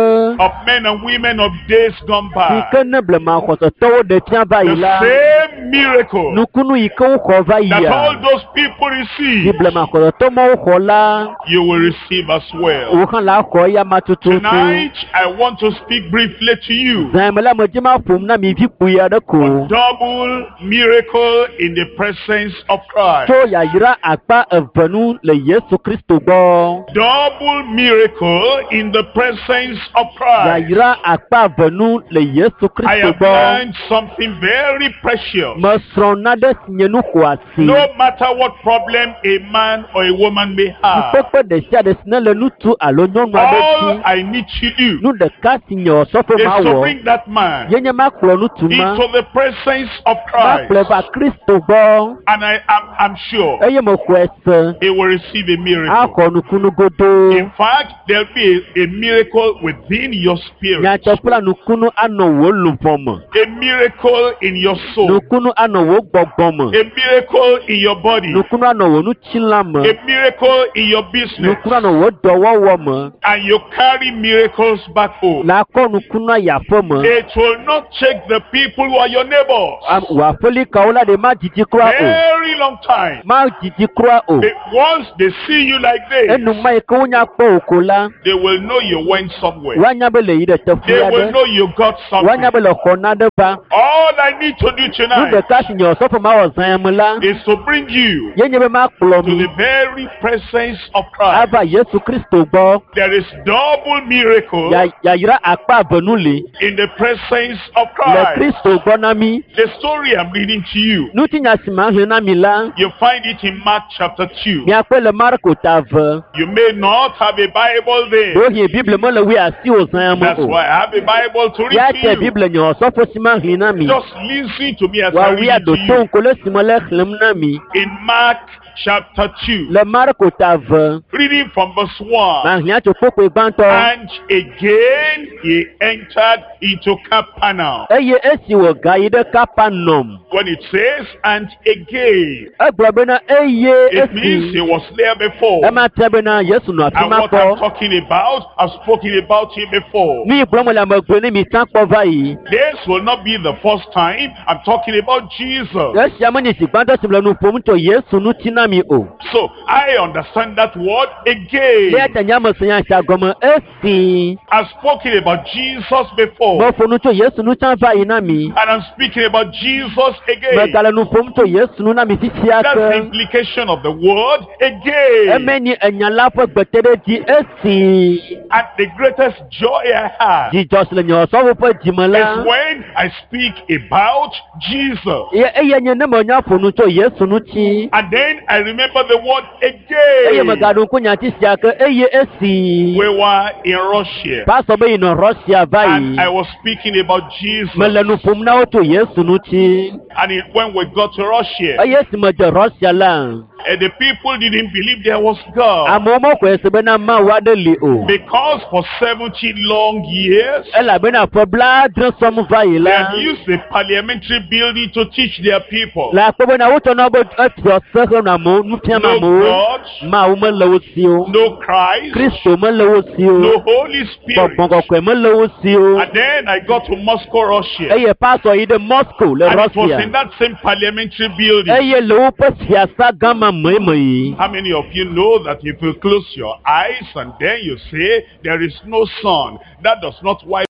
of men and women of days gone si by, ke ne blema xɔsetɔwo ɖe fia va yi the la, same miracle nukunu yi ke woxɔ va that all yia, those people si receive, blema xɔsetɔ mawo xɔ la, you will receive as well. wò hã la xɔ eya ma tututu. Tonight, I want to speak briefly to you. Zã ya me la, medzi ma ƒom na mi vi kpui aɖe ko. Double miracle in the presence of Christ. Tso yayra akpa eve nu le Yesu Kristo gbɔ. Double miracle miracle in the presence of Christ. Yayra akpa eve nu le Yesu I Kristo have gbɔ. learned something very precious. Mesrɔ̃ nane si nye nu xɔasi. No matter what problem a man or a woman may have, Fukpekpe ɖe sia ɖe si ne le ŋutsu alo nyɔnu aɖe all dzi, I need to do nu ɖeka si nye osɔfo is ma to wɔ bring that man ye nye makplɔ ŋutsu ma into the presence of makplɔe Christ. va Kristo gbɔ And I am I'm sure eye mexɔe se he will receive a miracle. axɔ nukunu godoo. In fact, there'll be a, a miracle within your spirit, Nyateƒe la nukunu anɔ wò luʋɔ me, a miracle in your soul, nukunu anɔ wò gbɔgbɔ me, a miracle in your body, nukunu anɔ wò ŋutilã me, a miracle in your business, nukunu anɔ wò dɔwɔwɔ me. and you carry miracles back home. La kɔ nukunu ayi aƒe me. It will not take the people who are your neighbors Am- Wò aƒelikawo la ɖe ma dzidzi kura o, very long time. ma dzidzi kura o. They- once they see you like this, Enuma yi ke wonya kpɔ wò ko la, they will know you went somewhere. woanya be le yi ɖe teƒe They will aɖe, know you got woanya something. be le xɔ naɖe va. All I need to do Nu tonight ɖeka si nye osɔfo ma wɔ zã ya me la, is to bring you ye nye be makplɔ to mi the very presence of Christ. ava Yesu Kristo gbɔ. There is double miracle Ya- Yayra akpa eve nu li in the presence of le Christ. Kristo gbɔ na mi. The story I'm reading to you, Ŋutinya si ma xlẽ na mi la, you find it in Mark chapter two. miakpɔe le Marko ta eve. You may not have a Bible there. Ɖewohĩ Biblia mele wui asi wò zã ya me That's o. why I have a Bible to Ya read te to you. Biblia nye osɔfo si ma xlẽ na mi. Just listen to me as I Woawoe read it aɖo to to you. ŋku le si me le xlẽm na mi. In Mark chapter two, Le Marko ta eve, reading from verse one. mahlẽ tso kpokpoe gbãtɔ. And again he entered into Capernaum. Eye esi wògayi ɖe Kapernaum, When it says, and again, egblɔ bena eye it means esi he was there before. ema tia bena Yesu nɔ afi And ma what I'm kpɔ. talking about, I've spoken about him before. Nu yi gblɔm le ame gblɔe ne mi tsã kpɔ va yi. This will not be the first time I'm talking about Jesus. Esia menye zi gbãtɔ si le nu ƒom tso Yesu ŋuti na mi o. So I understand that word again. Eya ta nye ame se nya sia gɔme esi I've spoken about Jesus before. meƒo nu tso Yesu ŋu tsã va yi na mi. And I'm speaking about Jesus again. Megale nu ƒom tso Yesu ŋu na mi fifia That's the ke. implication of the word again. Eme nye enya la ƒe gbeteɖedzi esi And the greatest joy I have dzidzɔ si le nye osɔfo ƒe dzime is la. when I speak about Jesus. Ye eye nye ne menya ƒo nu tso Yesu ŋuti. And then I remember the word Eye again. megaɖo ŋku nyati sia ke eye esi We were in Russia. pastor be yinɔ Russia va yi. And I was speaking about Jesus. Mele nu ƒom na wo tso Yesu ŋuti. And it, when we got to Russia, Eye esi medze Russia la, eh, the people didn't believe there was God. amewo mexɔe se bena Mawu aɖe li o. Because for seventy long years, Elabena ƒe blaadre sɔm va yi they la, had used the parliamentary building to teach their people. le akpɔ bena wotsɔna wobe efiɔ se henɔ amewo nu fiam No amewo. God, Mawu mele wo si o. no Christ, Kristo mele wo si o. no Holy Spirit. Gbɔgbɔ kɔkɔe mele wo si o. And then I got to Moscow, Russia. Eye pastor yi ɖe Moscow le And it was Russia. in that same parliamentary building. Eye le woƒe fiasa gã ma me me yi. How many of you know that if you close your eyes and then you say there is no sun, that does not wipe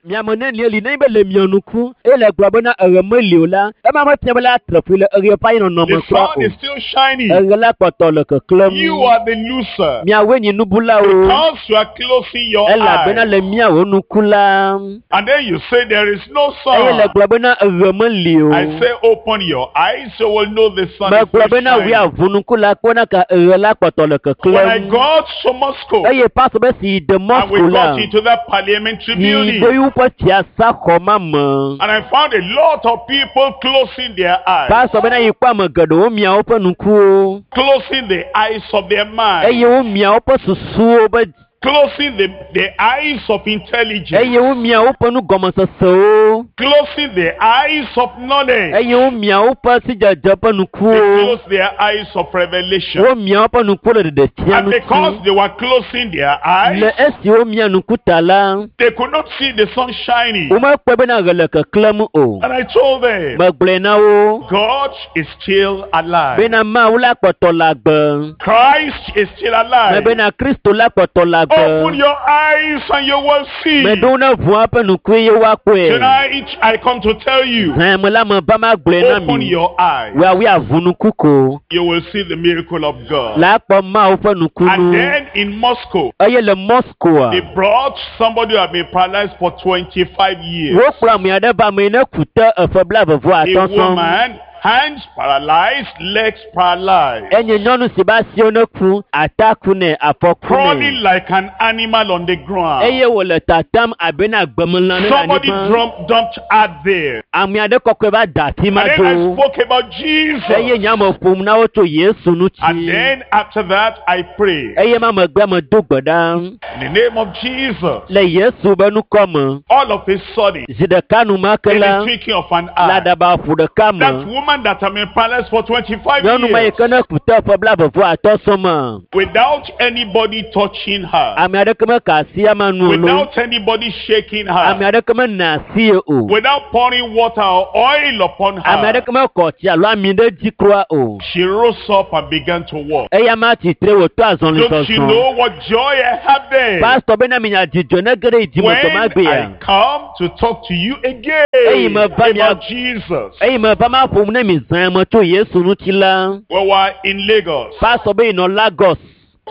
Miame ne li ne be le mia nuku eye le gblɔ bena eɣe meli o la, ema mefia be la atre ƒui le eɣe ƒe anyinɔnɔ The me kura sun o. is still shining. Eɣe la kpɔtɔ le keklẽm. You are the loser. Miawoe nyi nubulawo. Because you are closing your Elabena eyes. le miawo nuku la, And then you say there is no eye le sun. gblɔ bena eɣe meli o. I say open your eyes so you will know the sun is Megblɔ still bena shining. wui aʋu nuku la kpɔna ka eɣe la kpɔtɔ le When I keklẽm. got to Moscow Eye pastor be si yi de and we Moscow la, got into that parliamentary yi building ɖe woƒe fiasa xɔ ma me. and I found a lot of people closing their eyes, Pastor bena yi kpɔ ame geɖewo mia woƒe nukuwo closing the eyes of their mind, eye womia woƒe susuwo be closing the, the eyes of intelligence, eye womia woƒe nugɔmesesewo closing the eyes of knowledge, eye womia woƒe sidzedze ƒe they nukuwo closed their eyes of revelation. womia woƒe nukuwo le ɖeɖefia And because ŋuti they were closing their eyes, le esi womia nuku ta la they could not see the sun shining. womekpɔe bena ɣe le keklẽm o And I told them, megblɔe na wo God is still alive. bena Mawu la kpɔtɔ le agbe Christ is still alive. mebena Kristo la kpɔtɔ le agbe. Open your eyes and you will see. Meɖo ne ʋua ƒe nukue ye woakpɔe. Tonight I come to tell you, Zã me la me ba ma gblɔe na open mi. your eyes. Woawoe aʋu nuku ko. You will see the miracle of God. La akpɔ Mawu ƒe And nukunu. then in Moscow, Eye le Moscow, they brought somebody who had been paralyzed for twenty-five years. wokplɔ ame aɖe va ame yi ne ku te eƒe blaeve vɔ A atɔ̃ sɔŋ. woman, hands paralyzed, legs paralyzed, Enye nyɔnu si be asiwo ne ku, ata ku nɛ, afɔ ku crawling nɛ. like an animal on the ground. Eye wòle tatam abe na gbemelã ne le Somebody anyigba. drum, dumped her there. Ame aɖe kɔkɔe va da afi ma And then I do. spoke about Eye Jesus. nye ame ƒom na wo tso Yesu And ŋuti. then after that, I prayed. Eye ma megbe medo gbe ɖa In the name of Jesus. le Yesu be ŋkɔ me. All of a sudden, Zi ɖeka enumake in the la, twinkling of an le eye, aɖaba ƒu ɖeka that me, woman that had been paralyzed for twenty-five nyɔnu ma yi years, ke ne ku te ƒe blaeve vɔ atɔ̃ sɔŋ me, without anybody touching her, ame aɖeke meka asi ama nu o lo, without anybody shaking ame her, aɖeke mena asi ye o, without pouring water or oil upon ame her, aɖeke mekɔ tsi alo ami ɖe dzi kura o. she rose up and began to walk. Eya ma tsitre wòtɔ azɔli Don't you zɔzɔ. know what joy I have there? Pastor bena minya dzidzɔ ne ge ɖe yi dzime When dɔ ma gbea. I come to talk to you again Eyi me va mia- about Jesus. Eyi me va ma ƒom ne mi zã me tso Yesu ŋuti la. We were in Lagos Pastor be yinɔ Lagos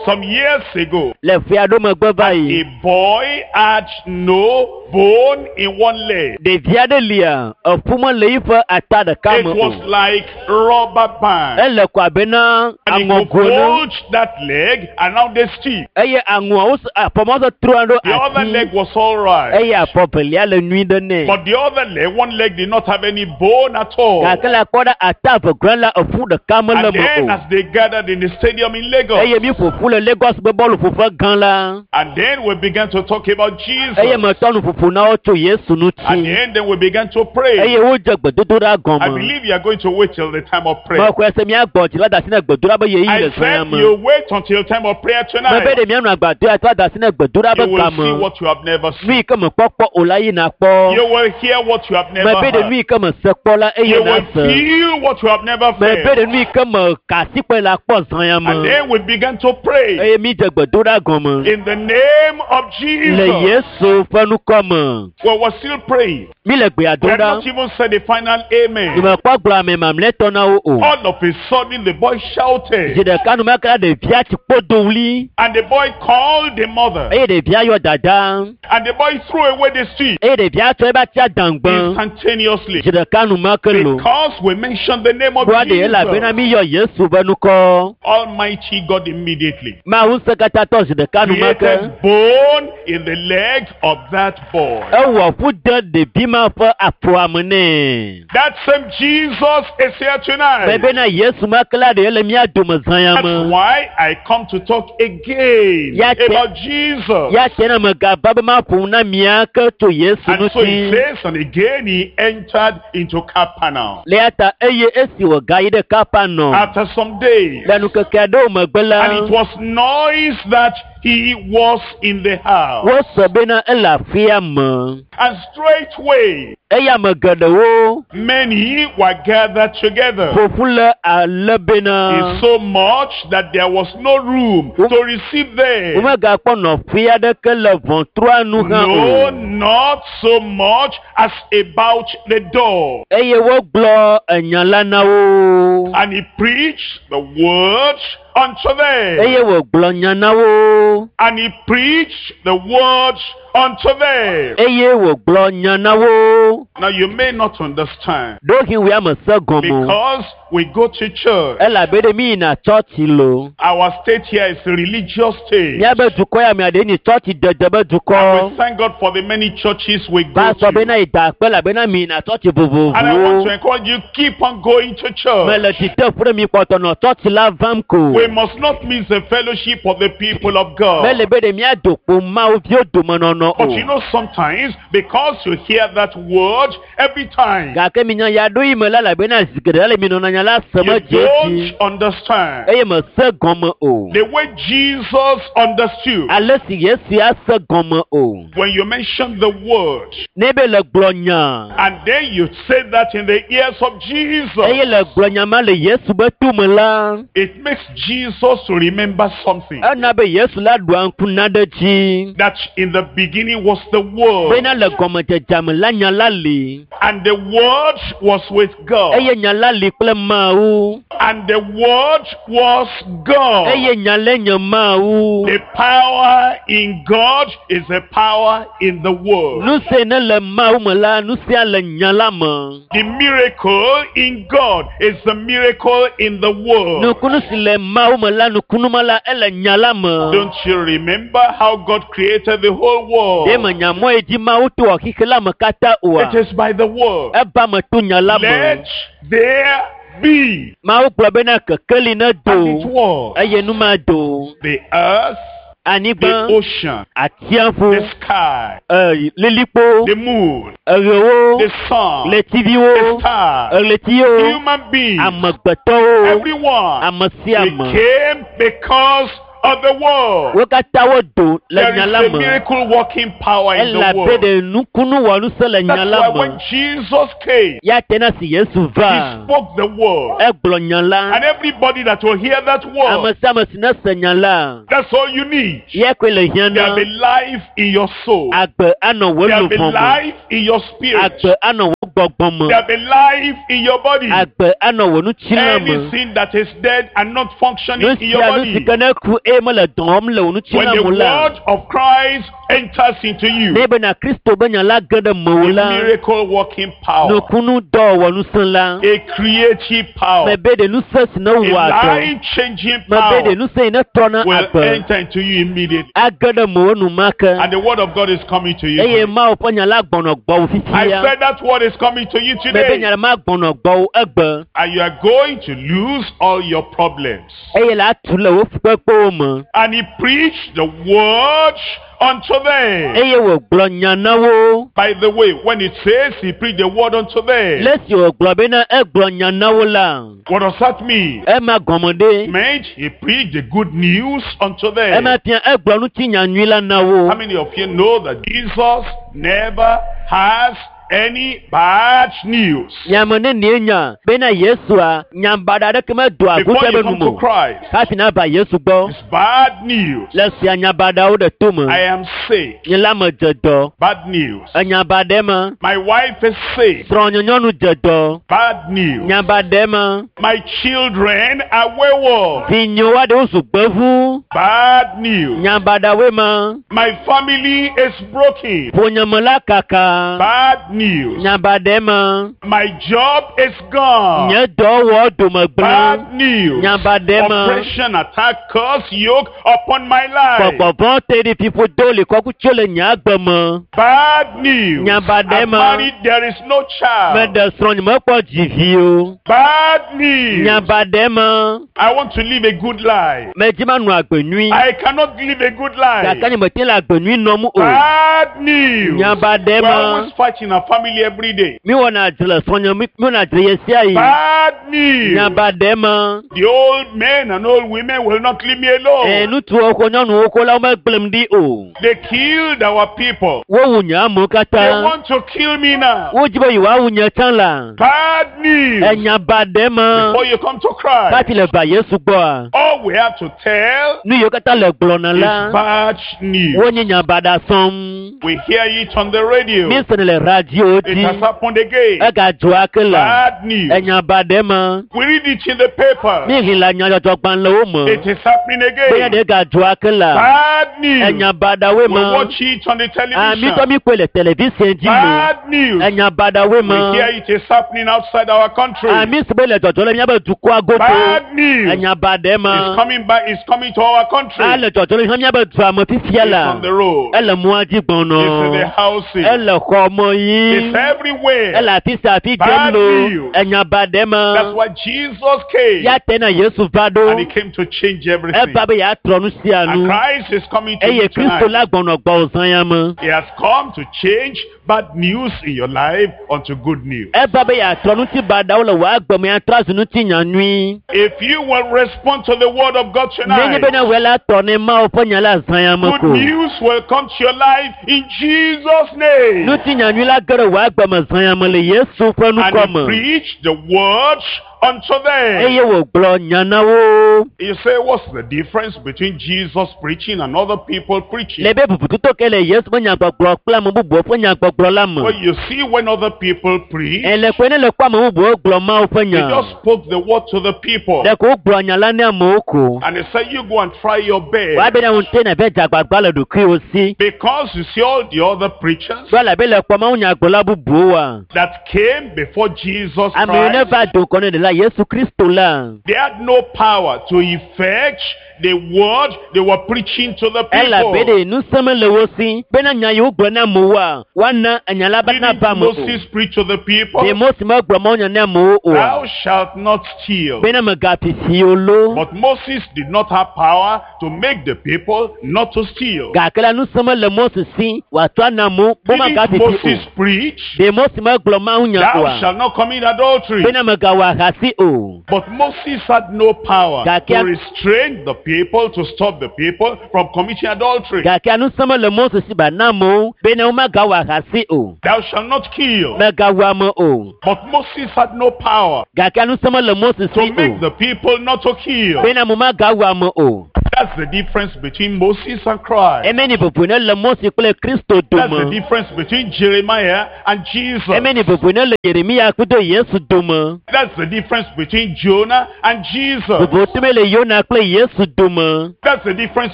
some years ago. le ƒe aɖewo megbe va yi. A boy had no bone in one leg. Ɖevi aɖe lia eƒu mele yiƒe ata ɖeka It me was o. like rubber band. Ele ko abe na And he could aŋɔgo ne hold that leg around the stick. eye aŋɔawo s- afɔmɔ se trɔa ɖo The other ati leg was all right. eye afɔ velia le nyui ɖe nɛ. But the other leg, one leg did not have any bone at all. Gake le akpɔ ɖe ata eve gblẽ la eƒu ɖeka mele And me then o. as they gathered in the stadium in Lagos, Eye mi ƒo ƒu le Lagos be bɔluƒoƒe gã la. and then we began to talk about Jesus. Eye metɔ nuƒoƒo na wo tso Yesu And ŋuti. then, then we began to pray. Eye wodze gbedodoɖa I gɔme. believe you are going to wait till the time of prayer. Mexɔe se miagbɔ dzi la da asi ne gbedoɖa be yeyi I le zã ya said me. you wait until time of prayer Mebe tonight. ɖe mianɔ agbadɔ ya trɔ da asi ne gbedoɖa You be will see game. what you have never Nu seen. yi ke mekpɔkpɔ o la yi nakpɔ. You will hear what you have never Mebe ɖe heard. nu yi ke mese kpɔ la eye You will nase. feel what you have never Mebe felt. ɖe nu yi ke me ka asi kpɔe la kpɔ zã ya And me. then we began to pray Eye mi dze gbedoɖa gɔme. in the name of Le Jesus. Yesu ƒe ŋkɔ me. We were still praying. Mi le gbea We dom had ɖa. not even said the final amen. Nyemekpɔ gblɔ ame mamlɛtɔ na wo o. All of a sudden, the boy Zi shouted, ɖeka numeke la ɖevia tsi kpo do ɣli and the boy called the mother, eye ɖevia yɔ dada and the boy threw away the stick eye ɖevia tsɔ eƒe atia dãgbe. instantaneously. Zi ɖeka numeke lo. Because we mentioned the name of Kpɔa ɖe elabena Jesus. mi yɔ Yesu ƒe ŋkɔ. Almighty God immediately Mawu ŋusẽkatãtɔ zi ɖeka numeke. created bone in the leg of that boy. Ewɔ ƒu de ɖevi ma ƒe afɔa me nɛ. That same Jesus is here tonight. Mebena Yesu ma ke la ɖe le mía dome zã ya That's me. why I come to talk again Ya te- about Jesus. Ya tse na megava be maƒo nu na mía ke tso Yesu And so he ŋuti. says, and again he entered into Capernaum. Le ya ta eye esi wògayi ɖe Kapernaum After some days, le nukeke aɖewo megbe la, and it was noise that he was in the house. wose bena ele aƒea me. And straightway, Eye ame geɖewo many were gathered together. ƒo ƒu le ale bena It's so much that there was no room to receive them. womegakpɔ nɔƒe aɖeke le ʋɔtrua nu hã No, o. not so much as about the door. Eye wogblɔ enya la na wo. And he preached the word unto them. Eye wògblɔ nya na wo. And he preached the word unto them. Eye wògblɔ nya na wo. Now you may not understand Ɖohi wòe ame se gɔme o. because we go to church. Elabe ɖe mi yina tsɔtsi lo. Our state here is a religious state. Míabe dukɔ ya mea ɖe nyi tsɔtsi dede be And dukɔ. we thank God for the many churches we go Pastor to. bena yi da akpe elabena mi yina tsɔtsi And I want vovovowo. to encourage you, keep on going to church. Mele dzite ƒo ɖe mi kpɔtɔ nɔ tsɔtsi la vam ko. We must not miss the fellowship of the people of God. Mele be ɖe míado kpo Mawu viwo domenɔnɔ nɔ o But you know, sometimes because you hear that word every time, gake minya ya ɖo yi me la elabena zi geɖe le mi nɔna nya la se you me dze edzi don't understand. eye me se gɔme o The way Jesus understood, ale si yesu ya se gɔme o when you mention the word, ne be le gblɔ nya and then you say that in the ears of Jesus, eye le gblɔ nya ma le yesu be tome la it makes Jesus to remember something. ena be yesu la ɖua ŋku na ɖe dzi That in the beginning was the word, bena le gɔmedzedze me la nya la li and the word was with God, eye nya la li kple mawu and the word was God. eye nya la nye mawu The power in God is the power in the word. nu si ne le mawu me la nu sia le nya la me The miracle in God is the miracle in the word. nukunu si le mawu me la nukunu ma la ele nya la me Don't you remember how God created the whole ɖe world? me nya mɔ yi dzi mawu to wɔ xixe la me katã oa It is by the word. eba me to nya la me Let there be. mawu gblɔ bena kekeli ne And it do was. eye nu ma do The earth, the anyigba ocean, atiaƒu the sky, e lilikpo the moon, eɣewo the sun, the ɣletiviwo stars, ɣletiwo human beings, amegbetɔwo everyone. ame sia We ame came because of the word. wo katã wodo le There nya is la a me miracle working power in the elabe world. ɖe nukunu wɔnusẽ le nya That's la why me when Jesus came, ya te na si yesu he va spoke the word. egblɔ nya la And everybody that will hear that ame word, sia ame si ne se nya la that's all you need. ye koe le hiã There'll na be life in your soul. agbe anɔ wò There'll be luʋɔ me life in your spirit. agbe anɔ wò gbɔgbɔ me There'll be life in your body. agbe anɔ wò ŋutilã me Anything that is dead and not functioning nu in your sia nu si body. ke ne ku eye mele dɔ wɔm le wò When ŋutilã the me la word of Christ enters into you, ne bena kristo be nya la ge ɖe mewò a la miracle working power, nukunu dɔwɔnusẽ la a creative power, mebe ɖe nusẽ si ne a wɔa dɔ life changing mebe power ɖe nusẽ yi ne trɔna will agbe enter into you immediately. age ɖe mewò enumake And the word of God is coming to you. eye today. mawu ƒe nya la gbɔnɔ gbɔwò I fifia said that word is coming to you mebe today. nya la ma gbɔnɔ gbɔwò egbe And you are going to lose all your problems. eye la atu le wò fukpekpewo me And he preached the word unto them. eye wògblɔ nya na wo By the way, when it says he preached the word unto them, le esi wògblɔ bena egblɔ nya na wo la what does that mean? ema gɔme ɖe Meant he preached the good news unto them. ema fia egblɔ ŋutinya nyui la na wo How many of you know that Jesus never has any bad news? nyame nenie nya bena yesua nyabaɖa aɖeke medoa Before aguta you be come nu to me o Christ, hafi nava yesu gbɔ it's bad news. le sia nyabaɖawo ɖe to me I am sick. nye la me dze dɔ Bad news. enyabaɖe me My wife is sick. srɔ̃nye nyɔnu dze dɔ Bad news. nyabaɖe me My children are wayward. vinyewo aɖewo zu gbevu Bad news. nyabaɖawoe me My family is broken. ƒonyeme la kaka Bad news. nyabaɖe me My job is gone. nye dɔwɔ dome gblẽ Bad news. Nyabaɖe me Oppression, attack, curse, yoke upon my life. gbɔgbɔvɔ te ɖi fiƒo do li kɔku tso le nye agbe me Bad news. Nyabaɖe I'm me. married, there is no child. meɖe srɔ̃ nye mekpɔ dzivi o Bad news. nyabaɖe me I want to live a good life. medzi manɔ agbe nyui I cannot live a good life. gake nye mete le agbe nyui nɔm o Bad news. Nyabaɖe We're me always fighting our family every day. miwɔna dzre le srɔ̃nye mi miwɔna dzre ɣe sia ɣi Bad news. nyabaɖe me The old men and old women will not leave me ee alone. ŋutsuwo ko nyɔnuwo ko la womegblẽm ɖi o They killed our people. wowu nye amewo They katã want to kill me now. wodzi be yewoawu nye tsã la Bad news. enyabaɖe me Before you come to Christ, hafi le va yesu gbɔa all we have to tell nu yiwo katã le gblɔna is la bad news. wonye nyabaɖa sɔm We hear it on the radio. míesene le radio It dzi has happened again. egadzɔ ake la Bad news. enyabaɖe me We read it in the paper. míexlẽ le nyadzɔdzɔgbalẽwo me It is happening bena again. ɖe gadzɔ ake la Bad news. enyabaɖawoe We me watch it on the amitɔ television. mi koe le television dzi me Bad news. enyabaɖawoe We me hear it is happening outside our country. ami si be le dzɔdzɔ le míabe dukɔa godo Bad news. enyabaɖe me It's coming back. It's coming to our country. ele dzɔdzɔ le míabe dua me fifia It's la on the road. ele mɔa dzi It's in the gbɔnɔ houses. ele xɔ me nyui. It's everywhere. Ele afi sia afi Bad dzem lo. news. Enya ba ɖe That's me. why Jesus came. Ya te na Yesu va And he ɖo. came to change everything. Eva be yeatrɔ nu sia And nu. Christ is coming to Eye you Kristo tonight. la gbɔnɔ gbɔwò zã ya me. He has come to change bad news in your life unto good news. Eva be yeatrɔ ŋuti baɖawo le wò agbe me atrɔ azu ŋuti nya nyui. If you will respond to the word of God Nenye tonight, bena wòe la tɔ ne Mawu ƒe nya la zã ya me good ko. news will come to your life in Jesus' name. Ŋuti nya nyui la ge ɖe wò agbe me zã ya me le Yesu ƒe And ŋkɔ he me. preached the word unto them. Eye wògblɔ nya na wo. You say, what's the difference between Jesus preaching and other people preaching? Le be bubututo ke le Yesu ƒe nyagbɔgblɔ kple ame bubuwo ƒe nyagbɔgblɔ la me. Well, you see, when other people preach, Ele koe ne le kpɔ ame bubuwo gblɔ Mawu ƒe they nya. just spoke the word to the people. Ɖeko wogblɔ nya la ne amewo ko. And they said, you go and try your best. Woabe ne ŋute na be dzagbagba le ɖokuiwo si. Because you see all the other preachers Ɖo elabe le kpɔ Mawu nyagblɔla bubuwoa. that came before Jesus Ame yiwo ne Christ, va do ŋgɔ ne ɖela Yesu Kristo la. they had no power to effect the word they were preaching to the Elabe people. ɖe ŋusẽ mele wo si bena nya yi wogblɔ na amewoa, woana enya la be Didn't nava ame o. Moses preach to the people? Ɖe Mose megblɔ Mawu nya ne amewo Thou oa? shalt not steal. Bena megafi si o lo. But Moses did not have power to make the people not to steal. Gake la ŋusẽ mele Mose si wòatrɔ ana amewo be Didn't magafi si Moses o. preach, Ɖe Mose megblɔ Mawu nya Thou oa? shalt not commit adultery? Bena megawɔ ahasi o. But Moses had no power Gake- to restrain the people, to stop the people from committing adultery. Gake ŋusẽ mele Mose si ba na amewo bena womagawɔ ahasi o. Thou shalt not kill. Megawu ame o. But Moses had no power Gake ŋusẽ mele Mose to si make o. the people not to kill. Bena ame magawu ame o. That's the difference between Moses and Christ. Emeni vovo ne le Mose kple Kristo That's the dome. difference between Jeremiah and Jesus. Emeni vovo ne le Yeremia kudo Yesu dome. That's the difference between Jonah and Jesus. Vovo tome le Yona kple Yesu dome. That's the difference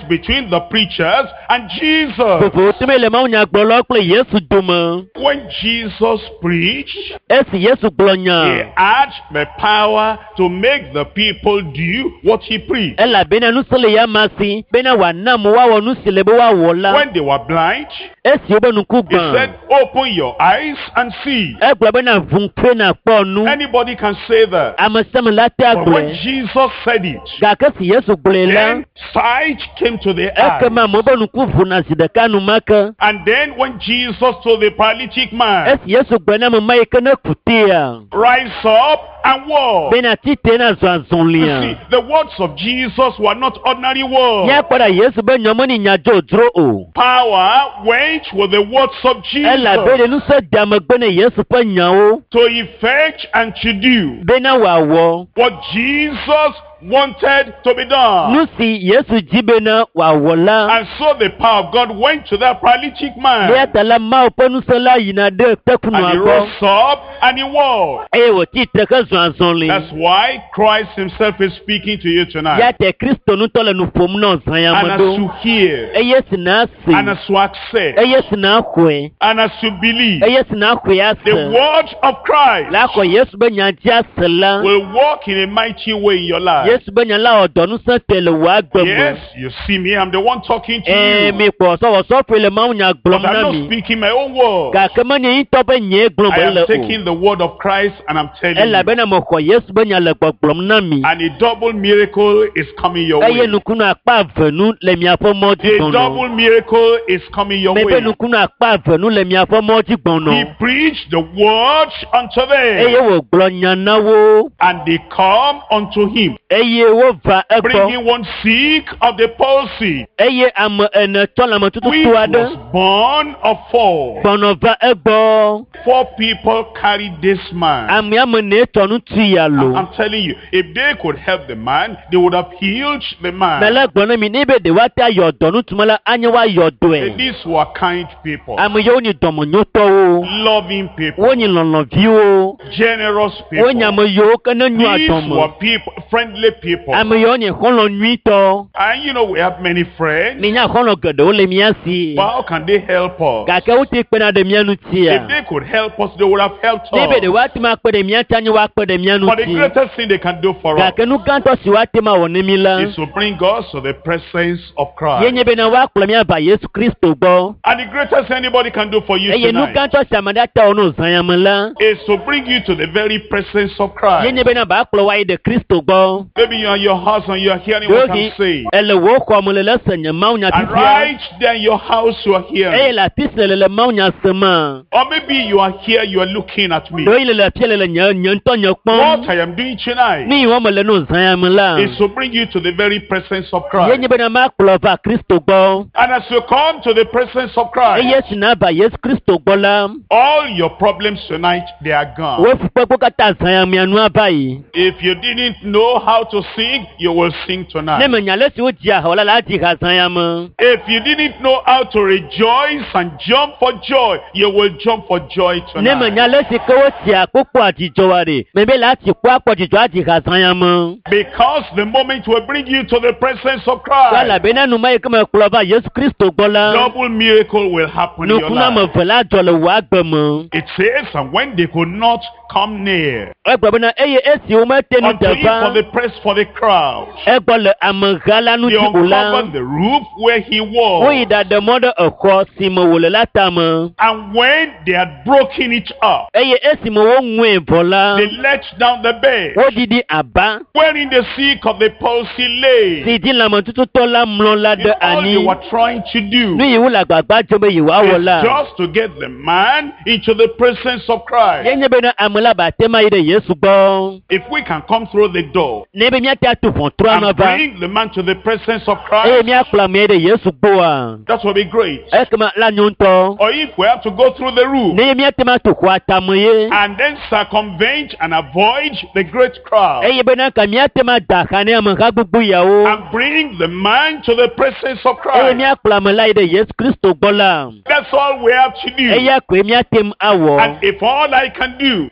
between the preachers and Jesus. Vovo tome le mawunyagblɔlawo kple Yesu dome. When Jesus preached, Esi Yesu gblɔ he nya, had the power to make the people do what he preached. elabena ŋusẽ le ya ma si bena wòana amewo woawɔ nu si le be woawɔ la. When they were blind, Esi wobe ŋku he gbã, said, Open your eyes and see. egblɔ bena ʋu ŋkue nàkpɔ nu. Anybody can say that. Ame sia ame la te But when agblɔe. Jesus said it, Gake esi Yesu gblɔe la, then sight came to the eyes. ekema amewo be ŋku ʋuna zi ɖeka enumake. And then when Jesus told the paralytic man, Esi Yesu gblɔ na ame ma yi ke ne ku tea, Rise up and walk. bena tite na zɔ You azɔlia. see, the words of Jesus were not ordinary words. Míakpɔ ɖa Yesu be nyɔ meni nya dzodzro o. Power went with the words of Elabe Jesus ɖe ŋusẽ de amegbe ne Yesu ƒe nyawo to effect and to do bena wòawɔ what Jesus wanted to be done. nu si Yesu dzi bena wòawɔ la. And so the power of God went to that paralytic man. Eya ta la Mawu ƒe ŋusẽ la yina ɖe And tekunua he gbɔ rose up and he walked. eye wòtsi tre hezɔ azɔli. That's why Christ himself is speaking to you tonight. Ya te Kristo ŋutɔ le nu ƒom na zã ya And me as ɖo. you hear, Eye si na se, and as you accept, eye si na xɔe, and as you believe, eye si na xɔe the ase. word of Christ La xɔ Yesu be nya dzi ase la. will work in a mighty way in your life. Yesu be nya la wɔ dɔ ŋusẽ te le wò agbe me. Yes, you see me, I'm the one talking to Ee, you. mi kpɔ sɔwɔsɔƒoe le Mawu nya But gblɔm I'm na not mi. speaking my own word. Gake menye ŋutɔ be nyee gblɔm I mele am o. taking the word of Christ and I'm telling you. Elabena mexɔ Yesu be nya le gbɔgblɔm na mi. And a double miracle is coming your Eye way. nukunu akpa eve nu le miaƒe mɔ dzi A gbɔnɔ. double miracle is coming your Mebe way. nukunu akpa eve nu le miaƒe mɔ dzi He gbɔnɔ. preached the word unto Eye them, wògblɔ nya na wo and they come unto him, eye wova egbɔ. bringing one sick of the palsy, Eye ame ene tɔ which lãmetututu aɖe was born of four. gbɔnɔ va egbɔ. Four people carried this man. Ame ame ene tɔ ŋutsu ya lo. I'm telling you, if they could help the man, they would have healed the man. Mele gblɔ na mi ne be ɖe woate ayɔ dɔ ŋutsu la anye woayɔ dɔe. These were kind people, Ame yiwo nyi dɔmenyotɔwo. loving people, Wonyi lɔlɔ̃viwo. generous people. Wonye ame yiwo ke ne nyoa These dɔme. were people friendly people. Ame yawo nye xɔlɔ̃ nyuitɔ. And you know, we have many friends. Minya xɔlɔ̃ geɖewo le mía si. But how can they help us? Gake wote kpena ɖe mía ŋutia. If they could help us, they would have helped Ne be ɖe us. woate ŋu akpe ɖe mía ŋuti anye woakpe ɖe mía But the ŋuti. greatest thing they can do for us Gake nu gãtɔ si woate ŋu awɔ ne mí la, is to bring us to the presence of ye Christ. nye bena woakplɔ mía va Yesu Kristo gbɔ. And the greatest thing anybody can do for you Eye nu tonight gãtɔ si ame ɖe ate wɔ ne wòzã ya me la, is to bring you to the very presence of ye Christ. nye bena ba kplɔ woayi ɖe Kristo gbɔ. Maybe you're in your house and you're hearing what Ɖewohĩ I'm saying. ele wò xɔ me le le se nye mawunya And fifia. right there in your house you are Eye hearing. le afi si le le mawunya sema. Or maybe you are here, you are looking at me. Ɖewohĩ le le afia le le nye nye ŋutɔ nye What kpɔm. I am doing tonight Nu yi wɔm le ne wòzã ya me la, is to bring you to the very presence of ye Christ. nye bena makplɔ va Kristo gbɔ. And as you come to the presence of Christ, Eye si nava Yesu Kristo gbɔ la, all your problems tonight, they are gone. wò fukpekpewo katã zã ya mea nu ava yi. If you didn't know how to sing, you will sing Ne tonight. menya ale si wodzia ha o la, la adzi ha zã ya me. If you didn't know how to rejoice and jump for joy, you will jump for joy Ne menya tonight. ale si ke wotsia kpokpo adzidzɔ wa ɖe, mebe la atsi kpo akpɔ dzidzɔ adzi ha zã ya me. Because the moment we bring you to the presence of Christ, Elabena nu ma yi ke mekplɔ va Yesu Kristo gbɔ la, double miracle will happen in your nukunu ame life. eve la dzɔ le wò agbe me. It says, and when they could not come near Egblɔ bena eye esi womete nu unto de him for va the press for the crowd, egbɔ le ameha la they ŋuti o la, uncovered the roof where he woyi was. ɖaɖe mɔ ɖe exɔ si me wòle la tame. And when they had broken it up, Eye esime woŋue vɔ la, they let down the bed, woɖiɖi aba wherein the sick of the palsy lay. si dzi lãmetututɔ la mlɔ la It's ɖe all they anyi. were trying to do Nu yi wole agbagba dzem be yewoawɔ is la, just to get the man into the presence of ye Christ. nye bena ame la ba te ma yi ɖe Yesu gbɔ. If we can come through the door Ne be míate atu ʋɔtrua and nɔ va bring the man to the presence of eye Christ, míakplɔ amea ɖe Yesu gbɔa, that will be great. ekema la nyo ŋutɔ. Or if we have to go through the roof Ne ye míate ma tu xɔa tame ye, and then circumvent and avoid the great crowd eye bena ka míate ma da xa ne ameha gbogbo yawo and bring the man to the presence of eye Christ. míakplɔ ame la yi ɖe Yesu Kristo gbɔ la, That's all we have to do. eya koe míate ŋu awɔ. And if all I can do